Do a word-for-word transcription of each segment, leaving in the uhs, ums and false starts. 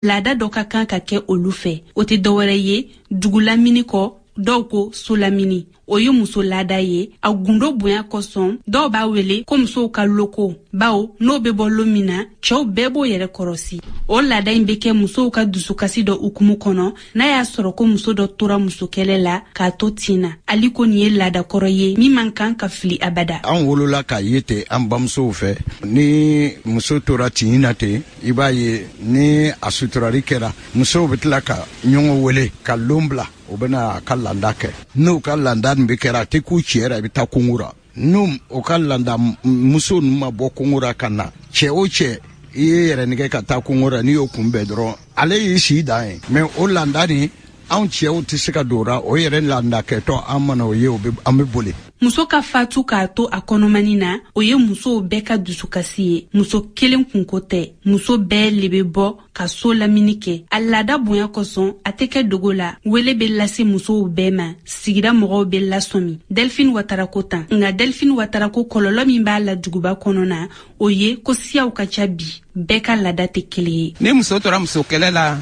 Laada dɔ ka kan ka kɛ olu fɛ. O tɛ dɔwɛrɛ ye dugu lamini kɔ, dɔw ko so lamini. O ye muso laada ye. A gundo bonya kosɔn, dɔw b'a wele ko musow ka loko, bawo n'o bɛ bɔ lon min na, cɛw bɛɛ b'o yɛrɛ kɔrɔsi. O laada in bɛ kɛ musow ka dusukasi dɔ hukumu kɔnɔ, n'a y'a sɔrɔ ko muso dɔ tora musokɛlɛ la k'a to tin na. Ali ko nin ye laada kɔrɔ ye min man kan ka fili abada. An wolola k'a ye ten an bamusow fɛ. Ni muso tora tin na ten, i b'a ye ni a suturali kɛra, musow bɛ tila ka ɲɔgɔn wele ka lon bila, u bɛna a ka landa kɛ. N'u ka landa nin bɛ kɛra, a tɛ k'u cɛ ra, i bɛ taa kungo ra. N'u o ka landa muso ninnu ma bɔ kungo ra ka na, cɛ o cɛ i ye yɛrɛ nɛgɛ ka taa kungo ra, n'i y'o kunbɛn dɔrɔn, ale y'i si dan ye. Mais o landa nin, anw cɛw tɛ se ka don o ra. O yɛrɛ landa kɛtɔ, an mana o ye, o bɛ an bɛ boli. Muso ka fatu k'a to a kɔnɔmani na, o ye musow bɛɛ ka dusukasi ye. Muso kelen kunko tɛ, muso bɛɛ le bɛ bɔ ka so lamini kɛ. A laada bonya kosɔn, a tɛ kɛ dogo la. Wele bɛ lase musow bɛɛ ma, sigida mɔgɔw bɛ lasɔmi. Delphine Watara ko tan. Nka Delphine Watara ko kɔlɔlɔ min b'a la duguba kɔnɔ na, o ye ko siyaw ka ca bi, bɛɛ ka laada tɛ kelen ye. Ni muso tora muso kɛlɛ la,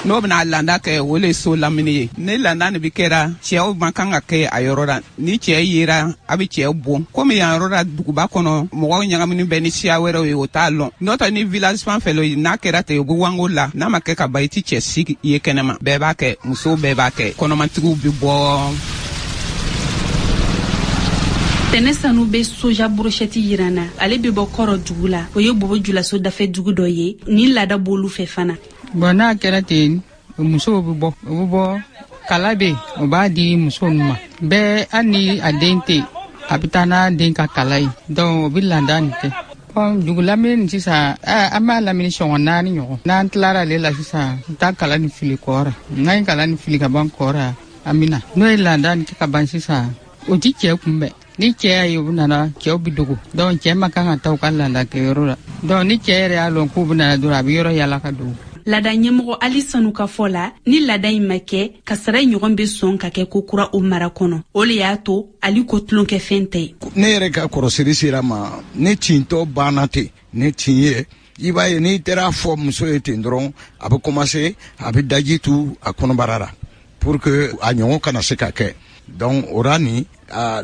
n'o bɛna landa kɛ, o le ye so lamini ye. Ni landa nin bi kɛra, cɛw man kan ka kɛ a yɔrɔ la. Ni cɛ yera, a bɛ cɛ bon. Komi yan yɔrɔ la, duguba kɔnɔ, mɔgɔw ɲagamini bɛ ni siya wɛrɛw ye, o t'a lɔn. N'o tɛ, ni village fan fɛ lo, n'a kɛra ten, u bɛ wango la. N'a ma kɛ ka ban, i ti cɛ si ye kɛnɛma. Bɛɛ b'a kɛ, musow bɛɛ b'a kɛ, kɔnɔmatigiw bɛ bɔ. Tɛnɛ Sanu bɛ soja brochette yira na. Ale bɛ bɔ Kɔrɔ dugu la, o ye Bobo Julaso dafɛ dugu dɔ ye. Nin laada b'olu fɛ fana. Bon, n'a kɛra ten, musow bɛ bɔ, u bɛ bɔ, kala bɛ yen, o b'a di muso ninnu ma bɛɛ. Hali ni a den tɛ yen, a bɛ taa n'a den ka kala ye. Donc o bɛ landa nin kɛ. Bon, dugu lamini nin sisan, an b'a lamini sɔngɔ naani ɲɔgɔn. N'an tilara ale la sisan, n taa kala nin fili kɔɔra. N'an ye kala nin fili ka ban kɔɔra, an bɛ na n'o ye landa nin kɛ ka ban sisan, o ti cɛ kunbɛn. Ni cɛ y'a ye u nana, cɛw bɛ dogo. Donc cɛ ma kan ka taa u ka landa kɛyɔrɔ la. Donc ni cɛ yɛrɛ y'a lɔn k'u bɛ nana dɔrɔn, a bɛ yɔrɔ yala ka dogo. Laada ɲɛmɔgɔ Ali Sanu ka fɔ la, ni laada in ma kɛ, kasara in ɲɔgɔn bɛ sɔn ka kɛ ko kura o mara kɔnɔ. O le y'a to Ali ko tulonkɛfɛn tɛ. Ne yɛrɛ ka kɔrɔsiri sera ma, ne tintɔ banna ten, ne tin ye, i b'a ye n'i taara fɔ muso ye ten dɔrɔn, a bɛ commencer, a bɛ daji tu a kɔnɔbara la pour que a ɲɔgɔn kana se ka kɛ. Donc o ra nin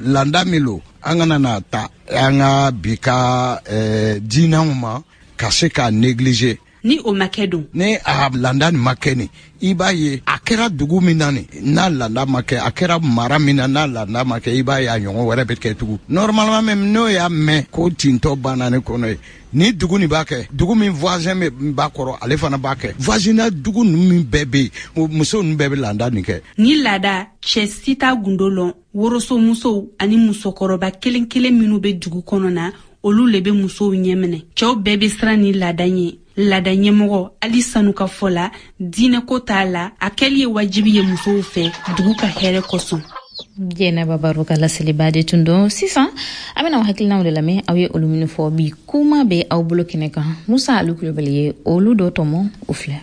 landa min lo, an kana na ta an ka bi ka diinɛw ma ka se k'a négliger. Ni o ma kɛ don, ni a landa nin ma kɛ nin, i b'a ye a kɛra dugu min na nin, n'a landa ma kɛ, a kɛra mara min na, n'a landa ma kɛ, i b'a ye a ɲɔgɔn wɛrɛ bɛ kɛ tugun. Normalement même, n'o y'a mɛn ko tintɔ banna ne kɔnɔ ye, ni dugu nin b'a kɛ, dugu min voisin bɛ b'a kɔrɔ, ale fana b'a kɛ. Voisinage dugu ninnu min bɛɛ bɛ yen, muso ninnu bɛɛ bɛ landa nin kɛ. Ni laada, cɛ si t'a gundo lɔn. Woroso musow ani musokɔrɔba kelen kelen minnu bɛ dugu kɔnɔ na, olu le bɛ musow ɲɛminɛ. Cɛw bɛɛ bɛ siran ni laada ɲɛ. Laada ɲɛmɔgɔ Ali Sanu ka fɔ la, diinɛko t'a la, a kɛli ye wajibi ye musow fɛ dugu ka hɛrɛ kosɔn. Jɛnɛba Baro ka laseliba de tun don. Sisan an bɛna aw hakilinaw de lamɛn, aw ye olu minnu fɔ bi kuma bɛ aw bolo kɛnɛ kan. Musa Alu Kulubali ye olu dɔ tɔmɔ, o filɛ.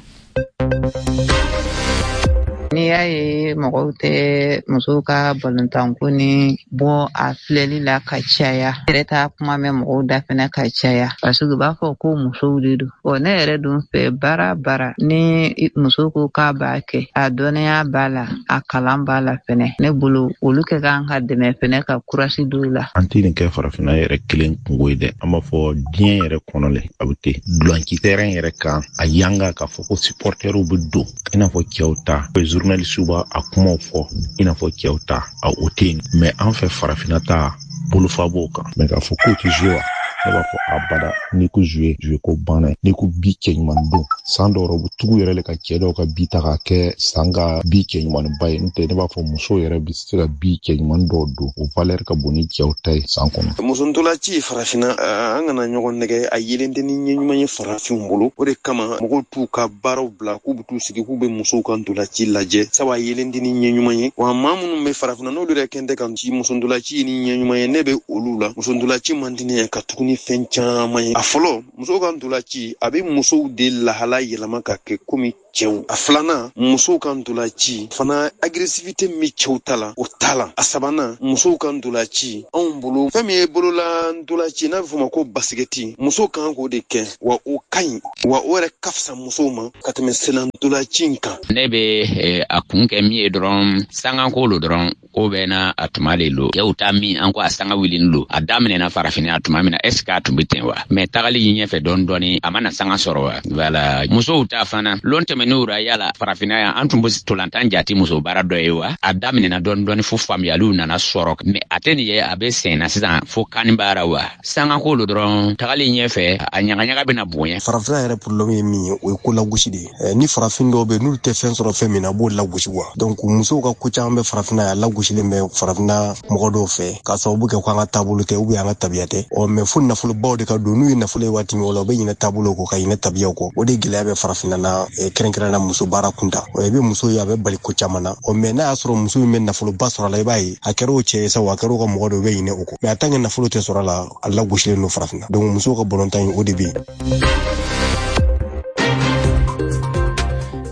N'i y'a ye mɔgɔw tɛ musow ka balontanko ni bɔ a filɛli la ka caya, yɛrɛ t'a kuma mɛn mɔgɔw da fɛnɛ ka caya, parce que u b'a fɔ ko musow de don. Ɔ ne yɛrɛ dun fɛ, baara baara ni muso ko k'a b'a kɛ, a dɔnniya b'a la, a kalan b'a la fɛnɛ, ne bolo olu kɛ kan ka dɛmɛ fɛnɛ ka kurasi don la. An tɛ nin kɛ farafinna yɛrɛ kelen kungo ye dɛ, an b'a fɔ diɲɛ yɛrɛ kɔnɔ le a bɛ ten. Dulanci terrain yɛrɛ kan, a yanga k'a fɔ ko supporteriw bɛ don i n'a fɔ cɛw ta, journaliste b'a a kumaw fɔ i n'a fɔ cɛw ta, a o tɛ yen. Mais an fɛ farafinna ta, bolofa b'o kan. Mais k'a fɔ k'o tɛ jouer wa, ne b'a fɔ abada. N'i ko jouer, jouer ko banna ye. N'i ko bi cɛ ɲuman don, san dɔw u bɛ tugu yɛrɛ le ka cɛ dɔw ka bi ta k'a kɛ san ka bi cɛ ɲumanba ye. N'o tɛ, ne b'a fɔ musow yɛrɛ bɛ se ka bi cɛ ɲuman dɔw don, o valeur ka bon ni cɛw ta ye san kɔnɔ. Muso ntolanci farafinna, an kana ɲɔgɔn nɛgɛ, a yelen tɛ ni ɲɛ ɲuman ye farafinw bolo. O de kama mɔgɔw t'u ka baaraw bila k'u bɛ t'u sigi k'u bɛ musow ka ntolanci lajɛ, sabu a yelen tɛ ni ɲɛ ɲuman ye. Wa maa minnu bɛ farafinna, n'olu yɛrɛ kɛn tɛ ka ci muso ntolanci ni ɲɛ ɲuman ye, ne bɛ olu la. Muso ntolanci man di ne ye ka tuguni. ni fɛn caman ye. A fɔlɔ, musow ka ntolanci a bɛ musow de lahala yɛlɛma ka kɛ komi cɛw. A filanan, musow ka ntolanci fana agressivité min cɛw ta la, o t'a la. A sabanan, musow ka ntolanci anw bolo fɛn min ye bolola ntolanci n'a bɛ fɔ o ma ko basikɛti, musow kan k'o de kɛ, wa o ka ɲi, wa o yɛrɛ ka fisa musow ma ka tɛmɛ senna ntolanci in kan. Ne bɛ a kun kɛ min ye dɔrɔn, sanganko lo dɔrɔn, ko bɛɛ n'a a tuma de lo. Cɛw ta min an ko a sanga wulini lo, a daminɛna farafinna a tuma min na, est ce que a tun bɛ ten wa? Mais tagali ɲɛfɛ dɔɔni dɔɔni, a mana sanga sɔrɔ wa? Voilà. Musow ta fana lon tɛmɛn'u ra, yala farafinna yan an tun bɛ tolantan jate muso baara dɔ ye wa? A daminɛna dɔɔni dɔɔni fo faamuyaliw nana sɔrɔ, mais a tɛ nin ye a bɛ sen na sisan fo kani baara wa? Sangako lo dɔrɔn, tagali ɲɛfɛ a ɲagaɲaga bɛna bonya. Farafinna yɛrɛ problème ye min ye, o ye ko lagosi de ye. Ni farafin dɔw bɛ yen n'olu tɛ fɛn sɔrɔ fɛn min na, a b'o lagosi wa. Donc musow ka ko caman bɛ farafinna yan, lagosilen bɛ farafinna mɔgɔ dɔw fɛ k'a sababu kɛ ko an ka taabolo tɛ ou bien an ka tabiya tɛ. Ɔ mais fo nafolobaw de ka don, n'u ye nafolo ye waati min o la, u bɛ ɲinɛ taabolo kɔ ka ɲinɛ tabiyaw kɔ. O de gɛlɛya bɛ farafinna na, kɛrɛnkɛrɛnnenya muso baara kunta. Ɔ i bɛ muso ye a bɛ bali ko caman na. Ɔ mais n'a y'a sɔrɔ muso min bɛ nafoloba sɔrɔ a la, i b'a ye a kɛra o cɛ ye sa, o a kɛra o ka mɔgɔ dɔ, u bɛ ɲinɛ o kɔ. Mais a tant que nafolo tɛ sɔrɔ a la, a lagosilen don farafinna. Donc musow ka balontan in, o de bɛ yen.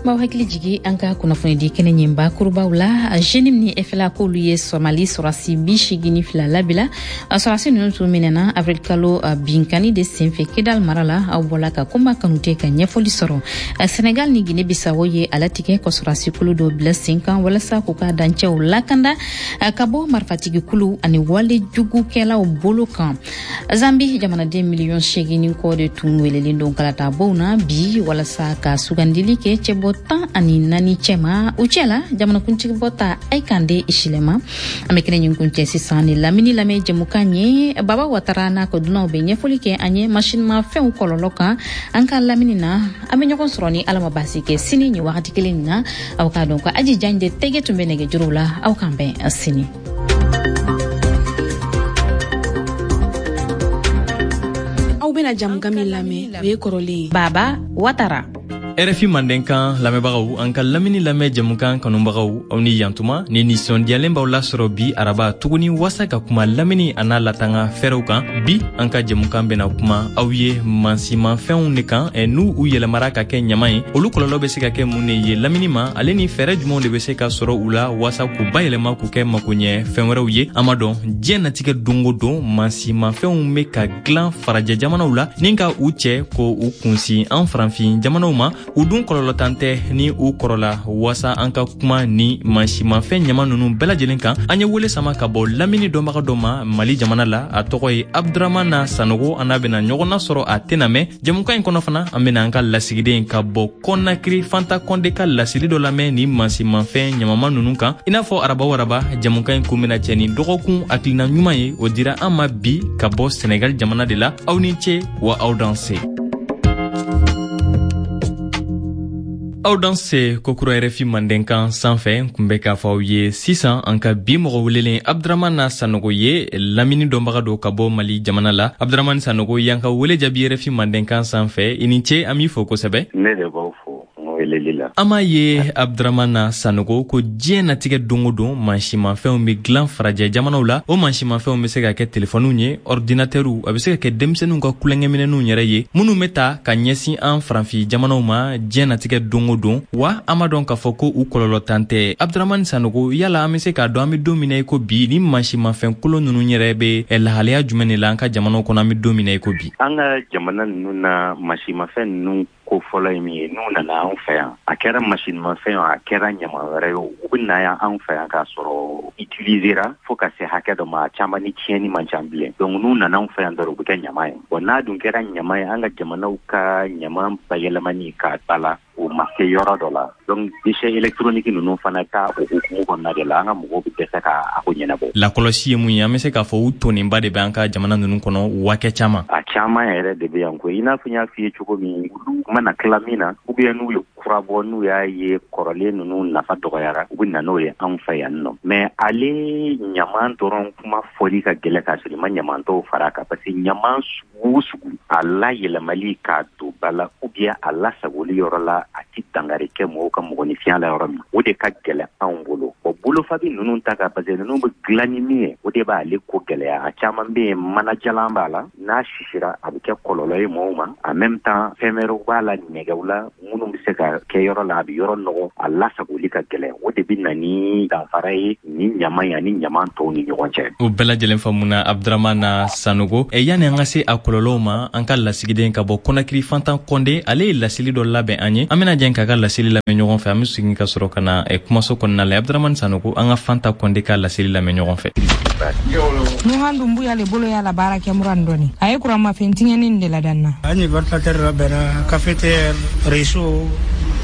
M'aw hakili jigi an ka kunnafonidi kɛnɛ ɲinba kurubaw la. Jenim ni F L A k'olu ye Somali sɔrɔsi bi seegin ni fila labila. Sɔrɔsi ninnu tun minɛna avril kalo binkani de senfɛ Kidal mara la. Aw bɔla ka Kunba Kanute ka ɲɛfɔli sɔrɔ. Senegal ni Guinée Bissau ye a latigɛ ka sɔrɔsi kulu dɔ bila sen kan walasa k'u ka dancɛw lakanda ka bɔ marifatigi kulu ani wale jugukɛlaw bolo kan. Zambi jamanaden miliyɔn seegin ni kɔ de tun welelen don kalatabow na bi walasa ka sugandili kɛ cɛbɔ tan ani naani cɛma. U cɛ la jamanakuntigi bɔta Hakainde Hichilema. An bɛ kɛnɛ ɲin kuncɛ sisan ni lamini lamɛn jɛmukan ye. Baba Watara n'a ka dunanw bɛ ɲɛfɔli kɛ an ye masinimafɛnw kɔlɔlɔ kan an ka lamini na. An bɛ ɲɔgɔn sɔrɔ ni Ala ma baasi kɛ sini nin wagati kelen na. Aw k'a dɔn ko Aji Jan de tɛgɛ tun bɛ nɛgɛjuru la. Aw k'an bɛn sini. Aw bɛna jamukan min lamɛn, o ye kɔrɔlen ye. Baba Watara. R F I Mandenkan lamɛnbagaw, an ka lamini lamɛn jɛmukan kanubagaw, aw ni yantuma ni nisɔndiyalen b'aw lasɔrɔ bi araba tuguni wasa ka kuma lamini a n'a latanga fɛɛrɛw kan. Bi an ka jɛmukan bɛna kuma aw ye mansimafɛnw de kan, n'u u yɛlɛmara ka kɛ ɲama ye, olu kɔlɔlɔ bɛ se ka kɛ mun de ye lamini ma, ale ni fɛɛrɛ jumɛnw de bɛ se ka sɔrɔ u la wasa k'u bayɛlɛma k'u kɛ makoɲɛ fɛn wɛrɛw ye. An b'a dɔn diɲɛ natigɛ don o don mansimafɛnw bɛ ka dilan farajɛ jamanaw la ni ka u cɛ ko u kunsin an farafin jamanaw ma. U dun kɔlɔlɔtan tɛ ni u kɔrɔla. Wasa an ka kuma ni mansimafɛn ɲama ninnu bɛɛ lajɛlen kan, an ye wele sama ka bɔ lamini dɔnbaga dɔ ma Mali jamana la. A tɔgɔ ye Abdramana Sanogo. An n'a bɛna ɲɔgɔn nasɔrɔ a tɛna mɛn jɛmukan in kɔnɔ fana. An bɛna an ka lasigiden ka bɔ Kɔnakiri Fanta Kɔnde ka laseli dɔ lamɛn ni mansimafɛn ɲamama ninnu kan. I n'a fɔ araba o araba, jɛmukan in kun bɛna cɛ ni dɔgɔkun hakilina ɲuman ye. O dira an ma bi ka bɔ Senegal jamana de la. Aw ni ce wa aw danse. Aw danse kokura R F I Mandenkan sanfɛ. Kun bɛ k'a fɔ aw ye sisan an ka bi mɔgɔ welelen Abdramana Sanogo ye lamini dɔnbaga dɔ ka bɔ Mali jamana la. Abdramani Sanogo, y'an ka wele jaabi R F I Mandenkan sanfɛ. I ni ce, an b'i fo kosɛbɛ. Ne de b'aw fo weleli la. An m'a ye Abdramana Sanogo ko diɲɛ natigɛ don o don mansimafɛnw bɛ dilan farajɛ jamanaw la. O mansimafɛnw bɛ se ka kɛ telefɔniw ye, ordinatɛriw, a bɛ se ka kɛ denmisɛnninw ka kulonkɛminɛnw yɛrɛ ye minnu bɛ ta ka ɲɛsin an farafin jamanaw ma diɲɛ natigɛ don o don. Wa an b'a dɔn k'a fɔ ko u kɔlɔlɔtan tɛ. Abdramani Sanogo, yala an bɛ se k'a dɔn an bɛ don min na i ko bi, ni mansimafɛn kolon ninnu yɛrɛ bɛ lahalaya jumɛn de la an ka jamanaw kɔnɔ an bɛ don min na i ko bi? An ka jamana ninnu na mansimafɛn ninnu ko fɔlɔ ye min ye, n'u nana anw fɛ yan, a kɛra masinimafɛn o, a kɛra ɲama wɛrɛ ye o, u bɛ na yan anw fɛ yan k'a sɔrɔ utilisera fo ka se hakɛ dɔ ma, a caman ni tiɲɛni man ca bilen. Donc n'u nana anw fɛ yan dɔrɔn, u bɛ kɛ ɲama ye. Bon, n'a dun kɛra ɲama ye, an ka jamanaw ka ɲama bayɛlɛmani k'a ba la, o ma se yɔrɔ dɔ la. Donc déchets électroniques ninnu fana ta o hukumu kɔnɔna de la, an ka mɔgɔw bɛ dɛsɛ k'a ko ɲɛnabɔ. Lakɔlɔsi ye mun ye? An bɛ se k'a fɔ u tonnenba de bɛ an ka jamana ninnu kɔnɔ wakɛ caman. A caman yɛrɛ de bɛ yan koyi. I n'a fɔ n y'a f'i ye cogo min, olu mana tila min na, ou bien n'u ye kura bɔ, n'u y'a ye kɔrɔlen ninnu nafa dɔgɔyara, u bɛ na n'o ye anw fɛ yan nɔ. Mais ale ɲaman dɔrɔn kuma fɔli ka gɛlɛn k'a sɔrɔ i ma ɲaman tɔw fara a kan, parce que ɲaman sugu o sugu, a layɛlɛmali k'a don ba la ou bien a lasagoli yɔrɔ la, a ti dankari dangari kɛ mɔgɔw ka mɔgɔninfinya la yɔrɔ min, o de ka gɛlɛn anw bolo. Bon, bolofabi ninnu ta ka, parce que ninnu bɛ dilan ni min ye, o de b'ale ko gɛlɛya. A caman bɛ yen, manajalan b'a la, n'a sisira a bɛ kɛ kɔlɔlɔ ye mɔgɔw ma. En même temps, fɛn wɛrɛw b'a la, nɛgɛw la, minnu bɛ se ka kɛ yɔrɔ la, a bɛ yɔrɔ nɔgɔ, a lasagoli ka gɛlɛn. O de bɛ na ni danfara ye ni ɲama ye ani ɲama tɔw ni ɲɔgɔn cɛ. O bɛɛ lajɛlen faamuna, Abdramana Sanogo. E yanni an ka se a kɔlɔlɔw ma, an ka lasigiden ka bɔ Kɔnakiri, Fantan Kɔnde, ale ye laseli dɔ labɛn an ye. An bɛna jɛn k'a ka laseli lamɛn ɲɔgɔn fɛ. An bɛ segin ka sɔrɔ ka na kumaso kɔnɔna la. Abdramani Sanogo, an ka Fanta Kɔnde ka laseli lamɛn ɲɔgɔn fɛ. Nuhan Dumbuya le bolo y'a la baara kɛ muran dɔɔni, a ye kuranmafɛn tiɲɛni de ladanna. An ye ventilateur labɛnna, cafetière, réchaud,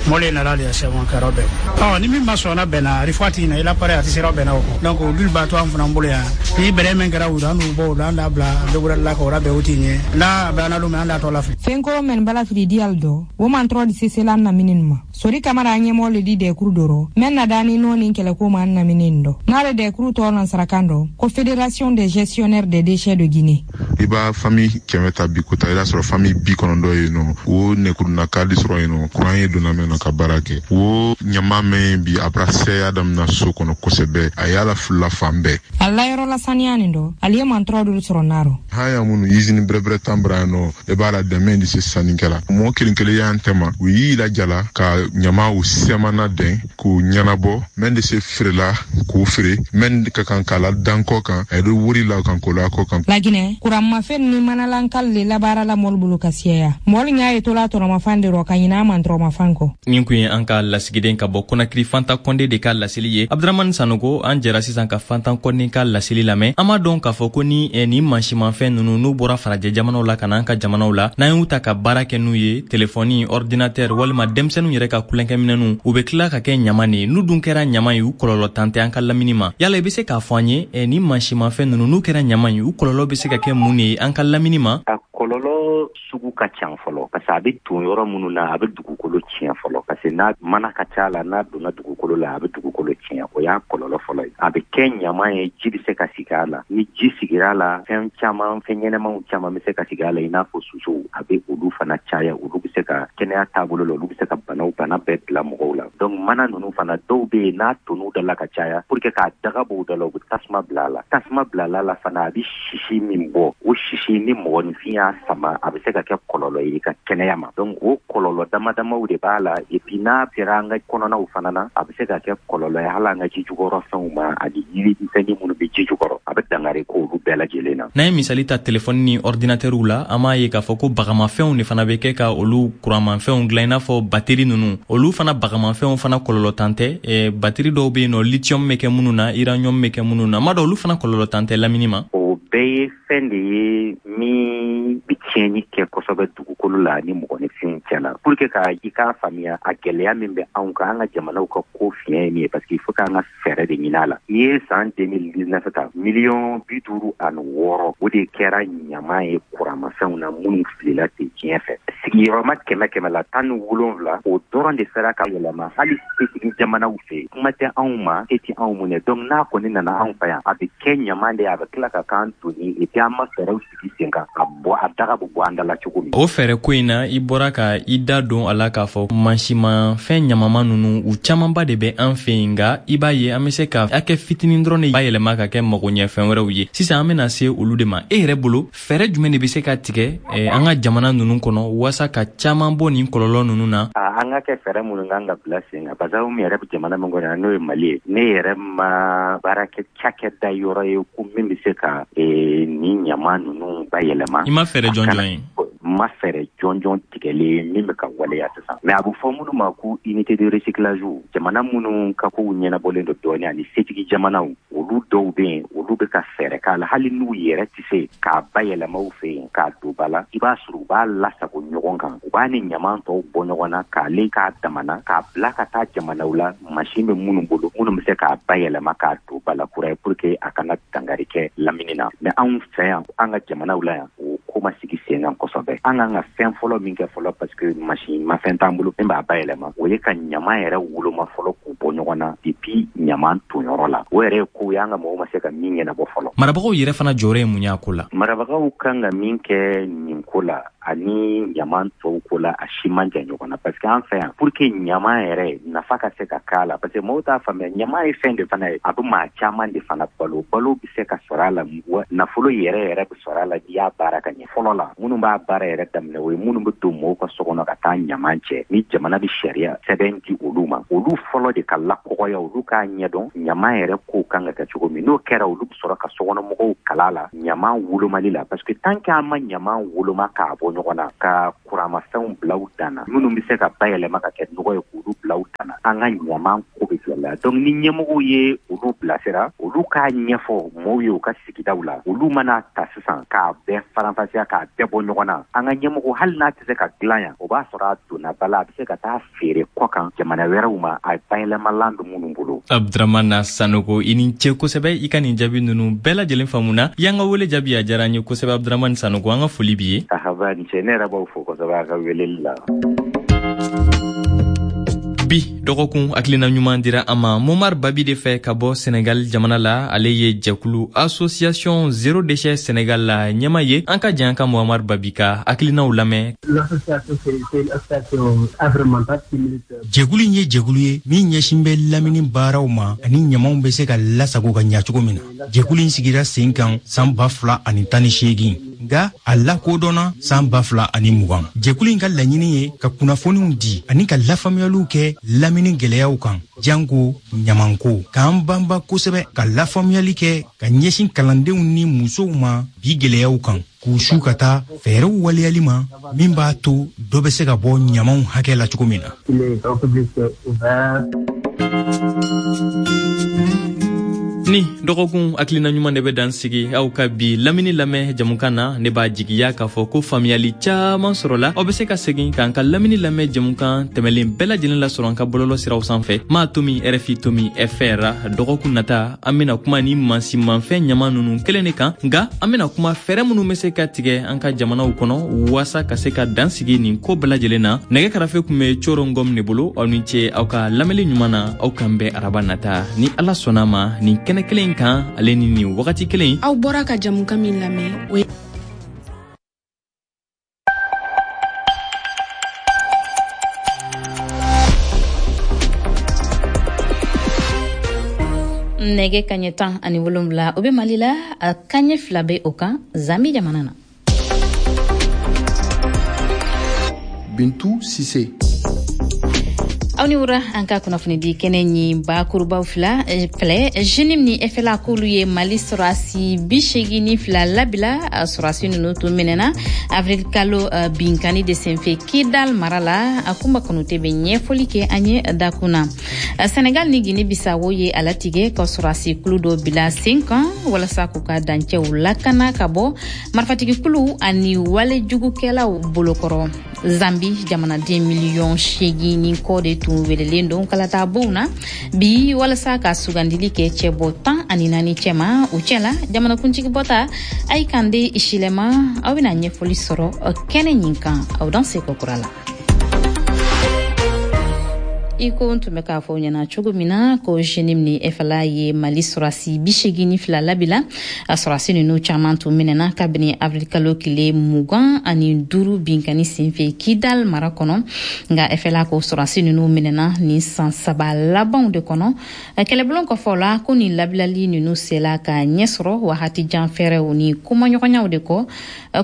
mɔle nana de sɛbɛn kɛra bɛn. Ɔ ni min ma sɔn na bɛnna, a fɔ a tigi na i la pare a tɛ sira bɛnna o kɔ. Donc olu b'a to an fana bolo yan, ni bɛrɛ min kɛra u an n'u bɔ o la, an d'a bila dogorali la k'o labɛn o t'i ɲɛ n'a bɛ an min an d'a tɔ lafili. Fɛnkɔrɔ mɛn bala fili diyal dɔ wo man tɔrɔ di sesela an namini ma. Sori Kamara an ɲɛmɔgɔ le di dɛkuru dɔrɔ mɛn na daani n'o ni kɛlɛko ma an namini dɔ n'ale dɛkuru tɔ nansarakan dɔ ko Fédération des gestionnaires des déchets de Guinée. I b'a famille kɛmɛ ta bi kota, i b'a sɔrɔ famille bi kɔnɔntɔn yen nɔ, o nɛkuruna kadi sɔrɔ yen nɔ, kuran ye donna mɛn na ka baara kɛ. O ɲama mɛn bi a bara sɛya daminɛ so kɔnɔ kosɛbɛ, a y'a la filila fan bɛɛ. A layɔrɔ la saniya nin dɔ, ale ye mantɔrɔ dolu sɔrɔ n'a rɔ. Han ya minnu usine bɛrɛbɛrɛ tan bara yan nɔ, i b'a la dɛmɛ de se sannikɛla mɔgɔ kelen kelen y'an tɛma, u y'i lajala ka ɲama u sɛmana dɛn k'u ɲɛnabɔ mɛn de se feerela k'o feere mɛn ka kan k'a la dan kɔ kan, a ye wari la kan k'o la kɔ kan. Laginɛ, kuranmafɛn ni manalankal le labaara la mɔli bolo ka siyaya mɔli ɲa ye tola tɔnɔmafan de rɔ ka ɲin'a mantɔrɔmafan kɔ. Nin kun ye an ka lasigiden ka bɔ Kɔnakiri, Fanta Kɔnde de ka laseli ye. Abdramani Sanogo, an jɛra sisan ka Fantan Kɔnde ka laseli lamɛn. An b'a dɔn k'a fɔ ko ni eh, nin mansimafɛn nunu n'u bɔra farajɛ jamanaw la ka na an ka jamanaw la, n'an y'u ta ka baara kɛ n'u ye, telefɔni, ordinateur walima denmisɛnninw yɛrɛ ka kulonkɛminɛnw, u be tila ka kɛ ɲama de ye. N'u dun kɛra ɲama ye, u kɔlɔlɔ tan tɛ an ka lamini ma. Yala i be se k'a fɔ an ye, eh, nin mansimafɛn nunu n'u kɛra ɲama ye, u kɔlɔlɔ be se ka kɛ mun de ye an ka lamini ma? A kɔlɔlɔ sugu ka ca fɔlɔ, parce que a bɛ ton yɔrɔ minnu na, a bɛ dugukolo tiɲɛ fɔlɔ, parce que n'a mana ka ca la, n'a donna dugukolo la, a bɛ dugukolo tiɲɛ. O y'a kɔlɔlɔ fɔlɔ ye. A bɛ kɛ ɲama ye, ji bɛ se ka sigi a la. Ni ji sigira a la, fɛn caman, fɛn ɲɛnɛmaw caman bɛ se ka sigi a la, i n'a fɔ sosow. A bɛ olu fana caya, olu bɛ se ka kɛnɛya taabolo la, olu bɛ se ka banaw bana bɛɛ bila mɔgɔw la. Donc mana ninnu fana, dɔw bɛ yen, n'a tonn'u da la ka caya, pour que k'a daga bɔ u da la, u bɛ tasuma bila a la. Tasuma bila la fana, a bɛ sisi min bɔ, o sisi ni mɔgɔninfin y'a sama, a bɛ se ka kɛ kɔlɔlɔ ye i ka kɛnɛya ma. Donc o kɔlɔlɔ dama damaw de b'a la. Et puis n'a sera an ka kɔnɔnaw fana na, a bɛ se ka kɛ kɔlɔlɔ ye hali an ka ji jukɔrɔ fɛnw ma, ani yiri misɛnnin minnu bɛ ji jukɔrɔ, a bɛ dankari k'olu bɛɛ lajɛlen na. N'an ye misali ta telefɔni ni ordinateurw la, an b'a ye k'a fɔ ko bagamafɛnw de fana bɛ kɛ ka olu kuranmafɛnw dilan, i n'a fɔ bateri ninnu. Olu fana bagamafɛnw fana kɔlɔlɔ tan tɛ. eh, bateri dɔw bɛ yen nɔ, lithium bɛ kɛ minnu na, uranium bɛ kɛ minnu na, n b'a dɔn olu fana kɔlɔlɔ tan tɛ lamini ma. O bɛɛ ye fɛn de ye min bɛ tiɲɛni kɛ kosɛbɛ dugukolo la ani mɔgɔninfinw cɛ la. Pour que ka i k'a faamuya a gɛlɛya min bɛ anw kan, an ka jamanaw ka ko fiɲɛ ye min ye, parce que il faut k'an ka fɛɛrɛ de ɲini a la. N'i ye san deux mille dix-neuf ta, miliyɔn bi duuru ani wɔɔrɔ, o de kɛra ɲama ye kuranmafɛnw na minnu filila ten diɲɛ fɛ. Sigiyɔrɔma kɛmɛ kɛmɛ la, tan ni wolonwula, o dɔrɔn de sera ka yɛlɛma hali setigi jamanaw fɛ. Kuma tɛ anw ma, se tɛ anw mun ye. Donc n'a kɔni nana anw fɛ yan, a bɛ kɛ ɲama de ye, a bɛ tila ka k'an doni. Et puis an ma fɛɛrɛw sigi sen kan ka bɔ a daga bɛ bɔ an da la cogo min. O fɛɛrɛ ko in na, i bɔra ka i da don a la k'a fɔ mansimafɛn ɲamama ninnu, u camanba de bɛ an fɛ yen, nka i b'a ye an bɛ se ka hakɛ fitinin dɔrɔn de bayɛlɛma ka kɛ magoɲɛfɛn wɛrɛw ye. Sisan an bɛna se olu de ma. E yɛrɛ bolo, fɛɛrɛ jumɛn de bɛ se ka tigɛ eh, an ka jamana ninnu kɔnɔ waasa ka caman bɔ nin kɔlɔlɔ ninnu na? An ka kɛ fɛɛrɛ minnu kan ka bila sen kan, parce que anw yɛrɛ bɛ jamana min kɔnɔ, n'o ye Mali ye, ne yɛrɛ ma baara kɛ cakɛda yɔrɔ ye ko min bɛ se ka nin ɲama ninnu bayɛlɛma. I ma fɛɛrɛ jɔnjɔn ye? Ma fɛɛrɛ jɔnjɔn tigɛlen min bɛ ka waleya sisan, mais a bɛ fɔ minnu ma ko unité de recyclage, jamana minnu ka kow ɲɛnabɔlen don dɔɔnin ani setigi jamanaw, olu dɔw bɛ yen, olu bɛ ka fɛɛrɛ k'a la. Hali n'u yɛrɛ tɛ se k'a bayɛlɛma u fɛ yen k'a don ba la, i b'a sɔrɔ u b'a lasago ɲɔgɔn kan, u b'a ni ɲaman tɔw bɔ ɲɔgɔn na, k'ale k'a damana k'a bila ka taa jamanaw la, mansin bɛ minnu bolo, minnu bɛ se k'a bayɛlɛma k'a don ba la kura ye, pour que a kana dankari kɛ lamini na. Mais anw fɛ yan, an ka jamanaw la yan, o ko ma sigi sen kan kosɛbɛ. An kan ka fɛn fɔlɔ min kɛ fɔlɔ, parce que mansin mafɛn t'an bolo min b'a bayɛlɛma, o ye ka ɲama yɛrɛ woloma fɔlɔ k'u bɔ ɲɔgɔn na depuis ɲaman tonyɔrɔ la. O yɛrɛ ye ko ye an ka mɔgɔw ma se ka min ɲɛnabɔ fɔlɔ. Marabagaw yɛrɛ fana jɔyɔrɔ ye mun ye a ko la? Marabagaw kan ka min kɛ nin ko la ani ɲaman tɔw ko la, a si man jan ɲɔgɔn na, parce que an fɛ yan, pour que ɲaman yɛrɛ nafa ka se ka k'a la, parce que mɔgɔw t'a faamuya, ɲaman ye fɛn de fana ye, a bɛ maa caman de fana balo, balo bɛ se ka sɔrɔ a la, nafolo yɛrɛ yɛrɛ bɛ sɔrɔ a la n'i y'a baara ka ɲɛ. Fɔlɔ la, minnu b'a baara yɛrɛ daminɛ, o ye minnu bɛ don mɔgɔw ka so kɔnɔ ka taa ɲaman cɛ, ni jamana bɛ sariya sɛbɛn di olu ma, olu fɔlɔ de ka lakɔgɔya, olu k'a ɲɛdɔn ɲaman yɛrɛ ko kan ka kɛ cogo min. N'o kɛra, olu bɛ sɔrɔ ka sokɔnɔmɔgɔw kala la ɲaman wolomali la, parce que tant que an ma ɲaman woloma k'a bɔ ɲɔgɔn na, ka kuramafɛnw bila u dan na, minnu bɛ se ka bayɛlɛma ka kɛ nɔgɔ ye k'olu bila u dan na, an ka ɲaman ko bɛ gɛlɛya. Donc ni ɲɛmɔgɔw ye olu bilasira, olu k'a ɲɛfɔ mɔgɔw ye u ka sigidaw la, olu mana ta sisan k'a bɛɛ faranfasiya, k'a bɛɛ bɔ ɲɔgɔn na, an ka ɲɛmɔgɔ hali n'a tɛ se ka dilan yan, o b'a sɔrɔ a donna ba la, a bɛ se ka taa feere kɔ kan jamana wɛrɛw ma, a bayɛlɛmalan bɛ minnu bolo. Abdramana Sanogo, i ni ce kosɛbɛ, i ka nin jaabi ninnu bɛɛ lajɛlen faamuna. I y'an ka wele jaabi, a diyara an ye kosɛbɛ. Abdramane Sanogo, an ka foli b'i ye. Ahaba, ni ce, ne yɛrɛ b'aw fo kosɛbɛ a ka weleli la. Bi dɔgɔkun hakilina ɲuman dira an ma Momar Babi de fɛ ka bɔ Senegal jamana la. Ale ye jɛkulu Association Zéro Déchet Senegal la ɲɛma ye. An ka jan ka Momar Babi ka hakilinaw lamɛn. Jɛkulu in ye jɛkulu ye min ɲɛsin bɛ lamini baaraw ma ani ɲamanw bɛ se ka lasago ka ɲa cogo min na. Jɛkulu in sigira sen kan san ba fila ani tan ni seegin, nka a lakodɔnna san ba fila ani mugan. Jɛkulu in ka laɲini ye ka kunnafoniw di ani ka lafaamuyaliw kɛ lamini gɛlɛyaw kan, janko ɲamanko, k'an banba kosɛbɛ ka lafaamuyali kɛ ka ɲɛsin kalandenw ni musow ma bi gɛlɛyaw kan, k'u su ka taa fɛɛrɛw waleyali ma min b'a to dɔ bɛ se ka bɔ ɲamanw hakɛ la cogo min na. Ni dɔgɔkun hakilina ɲuman de bɛ dan sigi aw ka bi lamini lamɛn jamukan na. Ne b'a jigiya k'a fɔ ko faamuyali caman sɔrɔla. Aw bɛ se ka segin k'an ka lamini lamɛn jamukan tɛmɛlen bɛɛ lajɛlen lasɔrɔ an ka bɔlɔlɔ siraw sanfɛ, maa tomi R F I tomi F R. Dɔgɔkun nata, an bɛna kuma ni mansinmafɛn ɲama ninnu kelen de kan, nka an bɛna kuma fɛɛrɛ minnu bɛ se ka tigɛ an ka jamanaw kɔnɔ waasa ka se ka dan sigi nin ko bɛɛ lajɛlen na. Nɛgɛ karafe tun bɛ Coro Ngom de bolo. Aw ni ce aw ka lamɛnli ɲuman na. Aw k'an bɛn araba nata ni Ala sɔnna ma nin kɛnɛ kelen kan, ale ni nin wagati kelen. Aw bɔra ka jamukan min lamɛn, o ye nɛgɛ kaɲɛ tan ani wolonwula, o bɛ Mali la, a kaɲɛ fila bɛ o kan Zambi jamana na. Bintu Sise. Aw ni wura, an ka kunnafonidi kɛnɛ ɲi bakurubaw fila filɛ. Jenim ni F L A k'olu ye Mali sɔrɔsi bi seegin ni fila labila. Sɔrɔsi ninnu tun minɛna avril kalo binkani de senfɛ Kidal mara la. A Kunba Kanute bɛ ɲɛfɔli kɛ an ye dakun na. Senegal ni Guinée Bissau ye a latigɛ ka sɔrɔsi kulu dɔ bila sen kan walasa k'u ka dancɛw lakana ka bɔ marifatigi kulu ani walejugukɛlaw bolokɔrɔ. Zambi jamanaden miliyɔn seegin ni kɔ de tun welelen don kalata bonw na bi walasa ka sugandili kɛ cɛbɔ tan ani naani cɛma. O cɛ la, jamanakuntigi bɔta Hakainde Hichilema, aw bɛna ɲɛfɔli sɔrɔ kɛnɛ ɲin kan. Aw dan se kokura la. I ko n tun bɛ k'a fɔ aw ɲɛna cogo min na ko Jenim ni F L A ye Mali sɔrɔsi bi seegin ni fila labila. A sɔrɔsi ninnu caman tun minɛna kabini avril kalo tile mugan ani duuru binkani senfɛ Kidal mara kɔnɔ. Nka F L A ko sɔrɔsi ninnu minɛna nin san saba labanw de kɔnɔ. Kɛlɛbulon kɔfɛ la, ko nin labilali ninnu sela ka ɲɛ sɔrɔ wagati jan fɛɛrɛw ni kumaɲɔgɔnyaw de kɔ.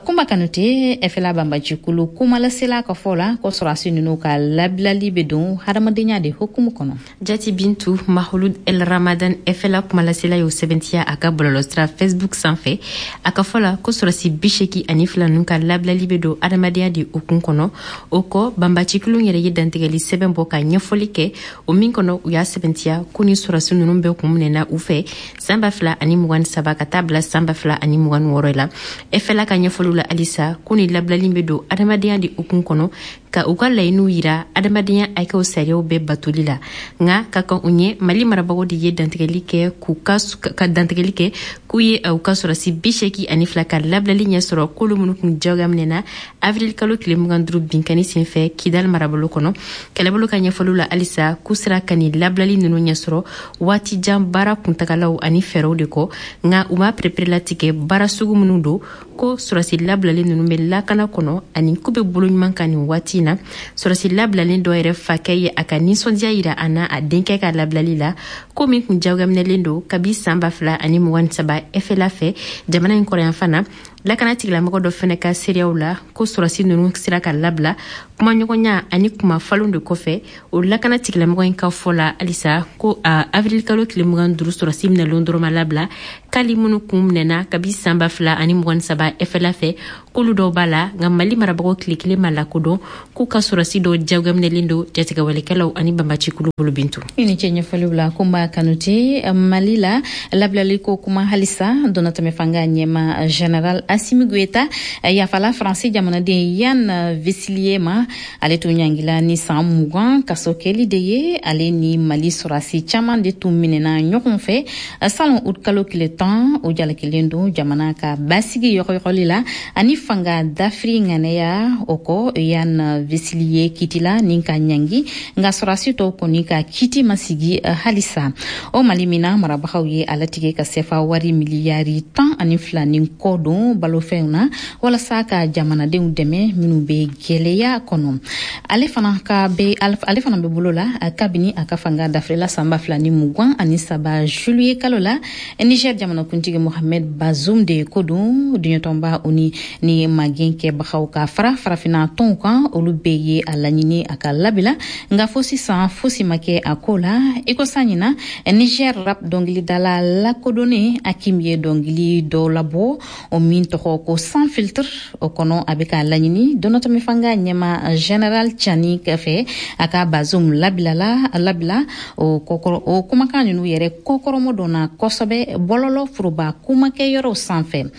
Kunba Kanute, F L A banbajikulu kumalasela ka fɔ la ko sɔrɔsi ninnu ka labilali bɛ don hadamaden de hukumu kɔnɔ. Jati Bintu, Mahulud El Ramadan F L A kumalasela y'o sɛbɛntiya a ka bɔlɔlɔsira Facebook sanfɛ. A ka fɔ la ko sɔrɔsi bi seegin ani fila ninnu ka labilali bɛ don adamadenya de hukumu kɔnɔ. O kɔ, banbacikulu yɛrɛ ye dantigɛli sɛbɛn bɔ ka ɲɛfɔli kɛ, o min kɔnɔ u y'a sɛbɛntiya ko ni sɔrɔsi ninnu bɛɛ kun minɛna u fɛ san ba fila ani mugan ni saba ka taa bila san ba fila ani mugan ni wɔɔrɔ la. F L A ka ɲɛfɔliw la halisa ko ni labilali bɛ don adamadenya de hukumu kɔnɔ, ka u ka laɲiniw yira adamadenya hakɛw sariyaw bɛɛ bɛɛ batoli la. Nka ka kan u ɲɛ, Mali marabagaw de ye dantigɛli kɛ k'u ka ka dantigɛli kɛ k'u ye u ka sɔrɔsi bi seegin ani fila ka labilali ɲɛ sɔrɔ, k'olu minnu kun jagoya minɛna avril kalo tile mugan duuru binkanni senfɛ Kidal marabolo kɔnɔ. Kɛlɛbolo ka ɲɛfɔliw la halisa, k'u sera ka nin labilali ninnu ɲɛ sɔrɔ waati jan baara kuntagalaw ani fɛɛrɛw de kɔ, nka u ma pereperelatigɛ baara sugu minnu don, ko sɔrɔsi labilalen ninnu bɛ lakana kɔnɔ ani k'u bɛ bolo ɲuman kan nin waati in na. Sɔrɔsi labilalen dɔ yɛrɛ fakɛ ye a ka nisɔndiya yira a n'a a denkɛ ka labilali la, ko min kun jagoyaminɛlen don kabi san ba fila ani mugan ni saba F L A fɛ jamana in kɔrɔyanfan na. Lakana tigilamɔgɔ dɔ fɛnɛ ka seereyaw la, ko sɔrɔsi ninnu sera ka labila kumaɲɔgɔnya ani kuma falenw de kɔfɛ. O lakana tigilamɔgɔ in ka fɔ la halisa, ko a avril kalo tile mugan duuru sɔrɔsi minɛlen dɔrɔn ma labila, k'ali minnu kun minɛna kabi san ba fila ani mugan ni saba F L A fɛ, k'olu dɔw b'a la. Nka Mali marabagaw tile kelen ma lakodɔn k'u ka sɔrɔsi dɔw jagoyaminɛlen don jatigɛwalekɛlaw ani banbacikulu bolo. Bintu. I ni ce ɲɛfɔliw la, Kunba Kanute. Mali la, labilali ko kuma halisa. Dɔnatɛmɛ fanga ɲɛma général Assimi Goïta yafala Faransi jamanaden Yann Vezilier ma. Ale tun ɲangila ni san mugan kaso kɛli de ye. Ale ni Mali sɔrɔsi caman de tun minɛna ɲɔgɔn fɛ salon ut kalo tile tan. O jalakilen don jamana ka basigi yɔgɔyɔgɔli la ani fanga dafiri ŋanɛya. O kɔ, Yann Vezilier kitila ni ka ɲangi, nka sɔrɔsi tɔw kɔni ka kiti ma sigi halisa. O Mali min na, marabagaw ye a latigɛ ka sefa wari miliyari tan ani fila ni kɔ don balofɛnw na walasa ka jamanadenw dɛmɛ minnu bɛ gwɛlɛya kɔnɔ. Ale fana ka be ale fana bɛ bolo la kabini a ka fanga dafirila san ba fila ni mugan ani saba juillet kalo la. Niger jamanakuntigi Mohamed Bazoum de ko don. Duɲɛtɔnba O N U ni magɛn kɛbagaw ka fara farafinna tɔnw kan, olu bɛɛ ye a laɲini a ka labila, nka fo sisan fosi ma kɛ a ko la. I ko san ɲina, Niger rap dɔngilidala lakodɔnnen Hakim ye dɔngili dɔ labɔ, o min tɔgɔ ko Sans filtre. O kɔnɔ, a bɛ k'a laɲini dɔnatɔmi fanga ɲɛma général Tiani fɛ a ka Bazoum labilala labila. O kɔkɔrɔ, o kumakan ninnu yɛrɛ kɔkɔrɔmɔ donna kosɛbɛ bɔlɔlɔ foroba kumakɛyɔrɔw sanfɛ.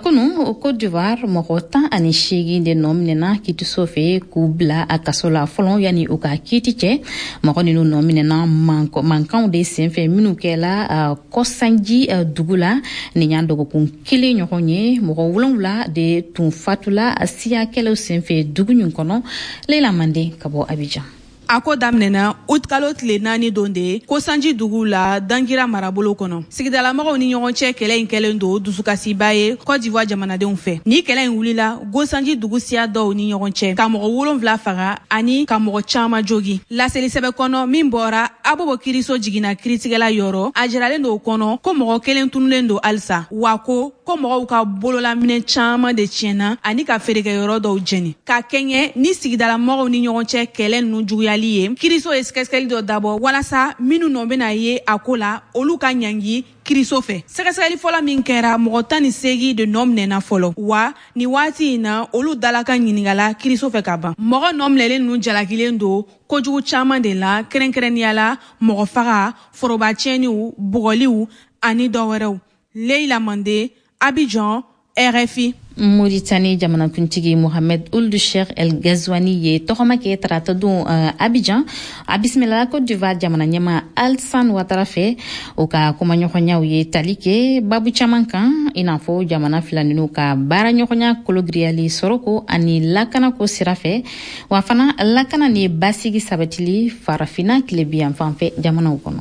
Kunu, Côte d'Ivoire, mɔgɔ tan ani seegin de nɔ minɛna kiitiso fɛ k'u bila a kaso la fɔlɔ yanni u ka kiiti cɛ. Mɔgɔ ninnu nɔ minɛna mankanw de senfɛ minnu kɛla Kɔsanji dugu la nin y'an dɔgɔkun kelen ɲɔgɔn ye. Mɔgɔ wolonwula de tun fatula siya kɛlɛw senfɛ dugu nin kɔnɔ. Leila Mande ka bɔ Abidjan. A ko daminɛna utikalo tile naani don de ko Sanji dugu la, Dangira marabolo kɔnɔ. Sigidalamɔgɔw ni ɲɔgɔn cɛ kɛlɛ in kɛlen don dusukasiba ye Côte d'Ivoire jamanadenw fɛ. Ni kɛlɛ in wulila Gosanji dugu siya dɔw ni ɲɔgɔn cɛ, ka mɔgɔ wolonfila faga ani ka mɔgɔ caaman jogi. Laseli sɛbɛ kɔnɔ min bɔra Abobo kiriso jiginna kiritigɛla yɔrɔ, a jiralen don o kɔnɔ ko mɔgɔ kelen tunulen don halisa, wa ko ko mɔgɔw ka bololaminɛ caaman de tiɲɛna ani ka feerekɛyɔrɔ dɔw jɛni. Ka kɛɲɛ ni sigidalamɔgɔw ni ɲɔgɔn cɛ kɛlɛ ninnu juguyali ye, kiriso ye sɛgɛsɛgɛli dɔ dabɔ walasa minnu nɔ bɛna ye a ko la, olu ka ɲangi kiriso fɛ. Sɛgɛsɛgɛli fɔlɔ min kɛra, mɔgɔ tan ni seegin de nɔ minɛna fɔlɔ, wa ni waati in na, olu dalakan ɲiningala kiriso fɛ ka ban. Mɔgɔ nɔ minɛlen ninnu jalakilen don kojugu caaman de la, kɛrɛnkɛrɛnnenya la mɔgɔ faga, foroba tiɲɛniw, bugɔliw ani dɔ wɛrɛw. Leila Mande, Abidjan, R F I. Mauritanie jamanakuntigi Mohamed Ould Cheikh El Ghazouani ye tɔgɔma kɛ tarata don uh, Abidjan. A bisimilala Côte d'Ivoire jamana ɲɛma Alassane Ouattara fɛ. O ka kumaɲɔgɔnyaw ye tali kɛ babu caman kan, i n'a fɔ jamana fila ninu ka baara ɲɔgɔnya kologiriyali sɔrɔko ani lakanako sira fɛ, wa fana lakana ni basigi sabatili Farafina tilebiyan fan fɛ jamanaw kɔnɔ.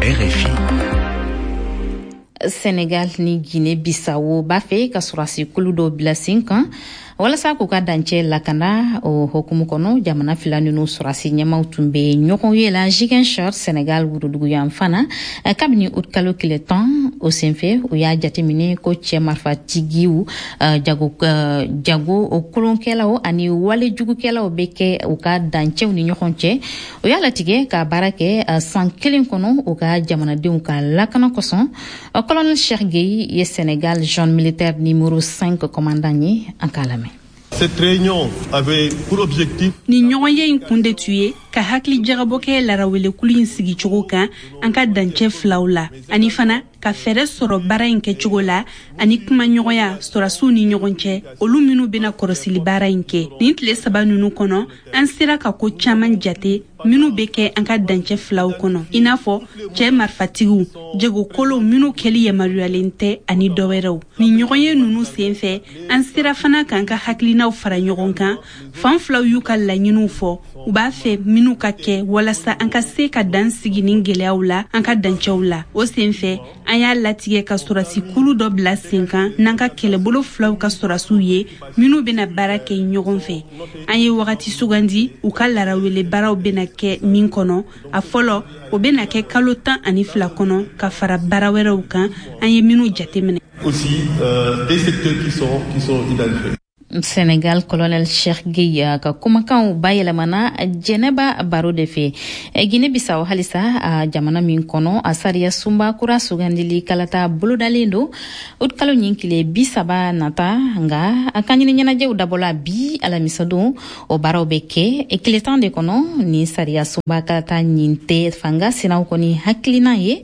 R F I. Senegal ni Guinée Bissau b'a fɛ ka sɔrɔsi kulu dɔ bila sen kan walasa k'u ka dancɛ lakana. O hokumu kɔnɔ, jamana fila ninu sɔrɔsi ɲɛmaw tun bɛ ɲɔgɔn ye la Ziguinchor, Senegal woroduguyan fana, kabini utikalo tile tan. O senfɛ, u y'a jateminɛ ko cɛ marifatigiw, jago jago kolonkɛlaw ani walejugukɛlaw bɛ kɛ u ka dancɛw ni ɲɔgɔn cɛ. O y'a latigɛ ka baara kɛ san kelen kɔnɔ u ka jamanadenw ka lakana kosɔn. Colonel Cheikh Gueye ye Sénégal zone militaire numéro cinq commandant ye. An k'a lamɛn. Cette réunion avait pour objectif Ni ɲɔgɔnye in kun de tun ye ka hakili jagabɔ kɛ larawelekulu in sigicogo kan an ka dancɛ filaw la, ani fana ka fɛɛrɛ sɔrɔ baara in kɛcogo la ani kumaɲɔgɔnya sɔrɔdasiw ni ɲɔgɔn cɛ, olu minnu bɛna kɔrɔsili baara in kɛ. Nin tile saba ninnu kɔnɔ, an sera ka ko caman jate minnu bɛ kɛ an ka dancɛ filaw kɔnɔ, i n'a fɔ cɛ marifatigiw, jagokolow minnu kɛli yamaruyalen tɛ ani dɔwɛrɛw. Nin ɲɔgɔnye ninnu senfɛ, an sera fana k'an ka hakilinaw fara ɲɔgɔn kan. Fan filaw y'u ka laɲiniw fɔ, u b'a fɛ minnu ka kɛ walasa an ka se ka dan sigi nin gɛlɛyaw la an ka dancɛw la. O senfɛ, an y'a latigɛ ka sɔrɔdasikulu dɔ bila sen kan n'an ka kɛlɛbolo filaw ka sɔrɔdasiw ye minnu bɛna baara kɛ ɲɔgɔn fɛ. An ye wagati sugandi u ka larawele baaraw bɛna kɛ min kɔnɔ. A fɔlɔ, o bɛna kɛ kalo tan ani fila kɔnɔ ka fara baara wɛrɛw kan an ye minnu jateminɛ. Aussi euh, des secteurs qui sont, qui sont identifiés. Senegal colonel Cheikh Gueye ka kumakanw bayɛlɛmana Jɛnɛba Baro de fɛ. Guinée Bissau halisa, a jamana min kɔnɔ a sariya sunba kura sugandili kalata bolodalen don utikalo ɲin tile bi saba nata, nga a kanɲini ɲɛnajɛw dabɔla bi alamisadon, o baaraw bɛ kɛ tile tan de kɔnɔ. Ni sariya sunba kalata ɲin tɛ fanga sinaw kɔni hakilina ye,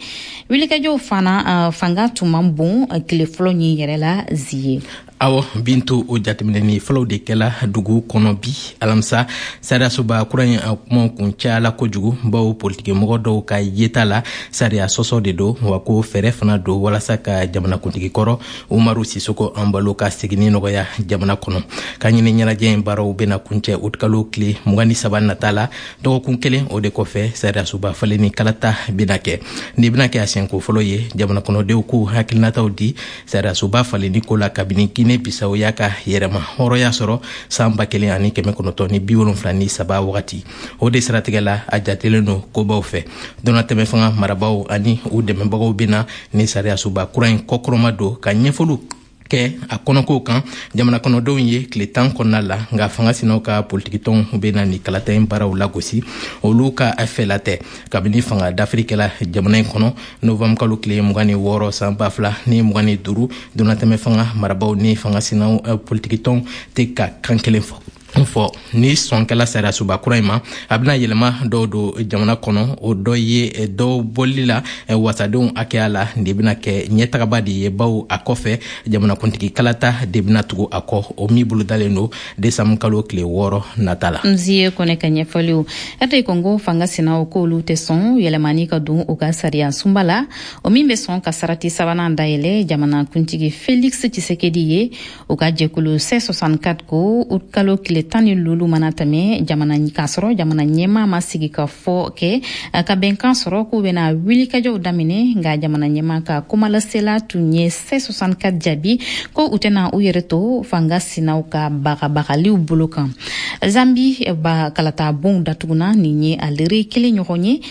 wulikajɔw fana fanga tun man bon tile fɔlɔ ɲin yɛrɛ la zie. Awɔ Bintu, o jateminɛni fɔlɔw de kɛla dugu kɔnɔ bi alamisa. Sariyasoba kura in a kumaw kun cayala kojugu, bawo politikimɔgɔ dɔw ka yeta la sariya sɔsɔ de don, wa ko fɛɛrɛ fana don walasa ka jamanakuntigi kɔrɔ Umaru Sisoko Anbalo ka seginni nɔgɔya jamana kɔnɔ. Ka ɲini ɲɛnajɛ in baaraw bɛna kuncɛ utikalo tile mugan ni saba nata la, dɔgɔkun kelen o de kɔfɛ sariyasoba falenni kalata bɛna kɛ. Nin bɛna kɛ a siɲɛko fɔlɔ ye jamana kɔnɔdenw k'u hakilinataw di sariyasoba falenni ko la kabini Guinée Bissau y'a ka yɛrɛma hɔrɔnya sɔrɔ san ba kelen ani kɛmɛ kɔnɔntɔn ni bi wolonfila ni saba wagati. O de siratigɛ la, a jatelen don kobaw fɛ. Donnatɛmɛ fanga marabaaw ani u dɛmɛbagaw bɛna ni sariyasoba kura in kɔkɔrɔma don ka ɲɛfɔliw kɛ a kɔnɔkow kan jamana kɔnɔdenw ye tile tan kɔnɔna la, nka fanga sinaw ka politikitɔnw bɛna ni kalata in baaraw lagosi, olu ka fɛla tɛ. Kabini fanga dafiri kɛla jamana in kɔnɔ novembre kalo tile mugan ni wɔɔrɔ san ba fila ni mugan ni duuru, donnatɛmɛ fanga marabaaw ni fanga sinaw politikitɔnw tɛ ka kan kelen fɔ fɔ ni sɔnkɛla sariyasoba kura in ma, a bɛna yɛlɛma dɔw don jamana kɔnɔ. O dɔ ye dɔw bɔli la wasadenw hakɛya la, de bɛna kɛ ɲɛtagaba de ye, bawo a kɔfɛ jamanakuntigi kalata de bɛna tugu a kɔ, o min bolodalen don desanburu kalo tile wɔɔrɔ nata la. Nzie Kɔnɛ ka ɲɛfɔliw. R D Congo fanga sinaw k'olu tɛ sɔn yɛlɛmani ka don u ka sariya sunba la, o min bɛ sɔn ka sarati sabanan dayɛlɛ jamanakuntigi Felix Tshisekedi ye. U ka jɛkulu C soixante-quatre ko kalo tile tan ni lulu mana tɛmɛ jamana k'a sɔrɔ jamana ɲɛmaa ma sigi ka fɔ kɛ ka bɛnkan sɔrɔ, k'u bɛna wulikajɔw daminɛ. Nka jamana ɲɛmaa ka kumalasela tun ye C soixante-quatre jaabi ko u tɛna u yɛrɛ to fanga sinaw ka bagabagaliw bolo kan. Zambi ba kalata bonw datuguna nin ye a lere kelen ɲɔgɔn ye.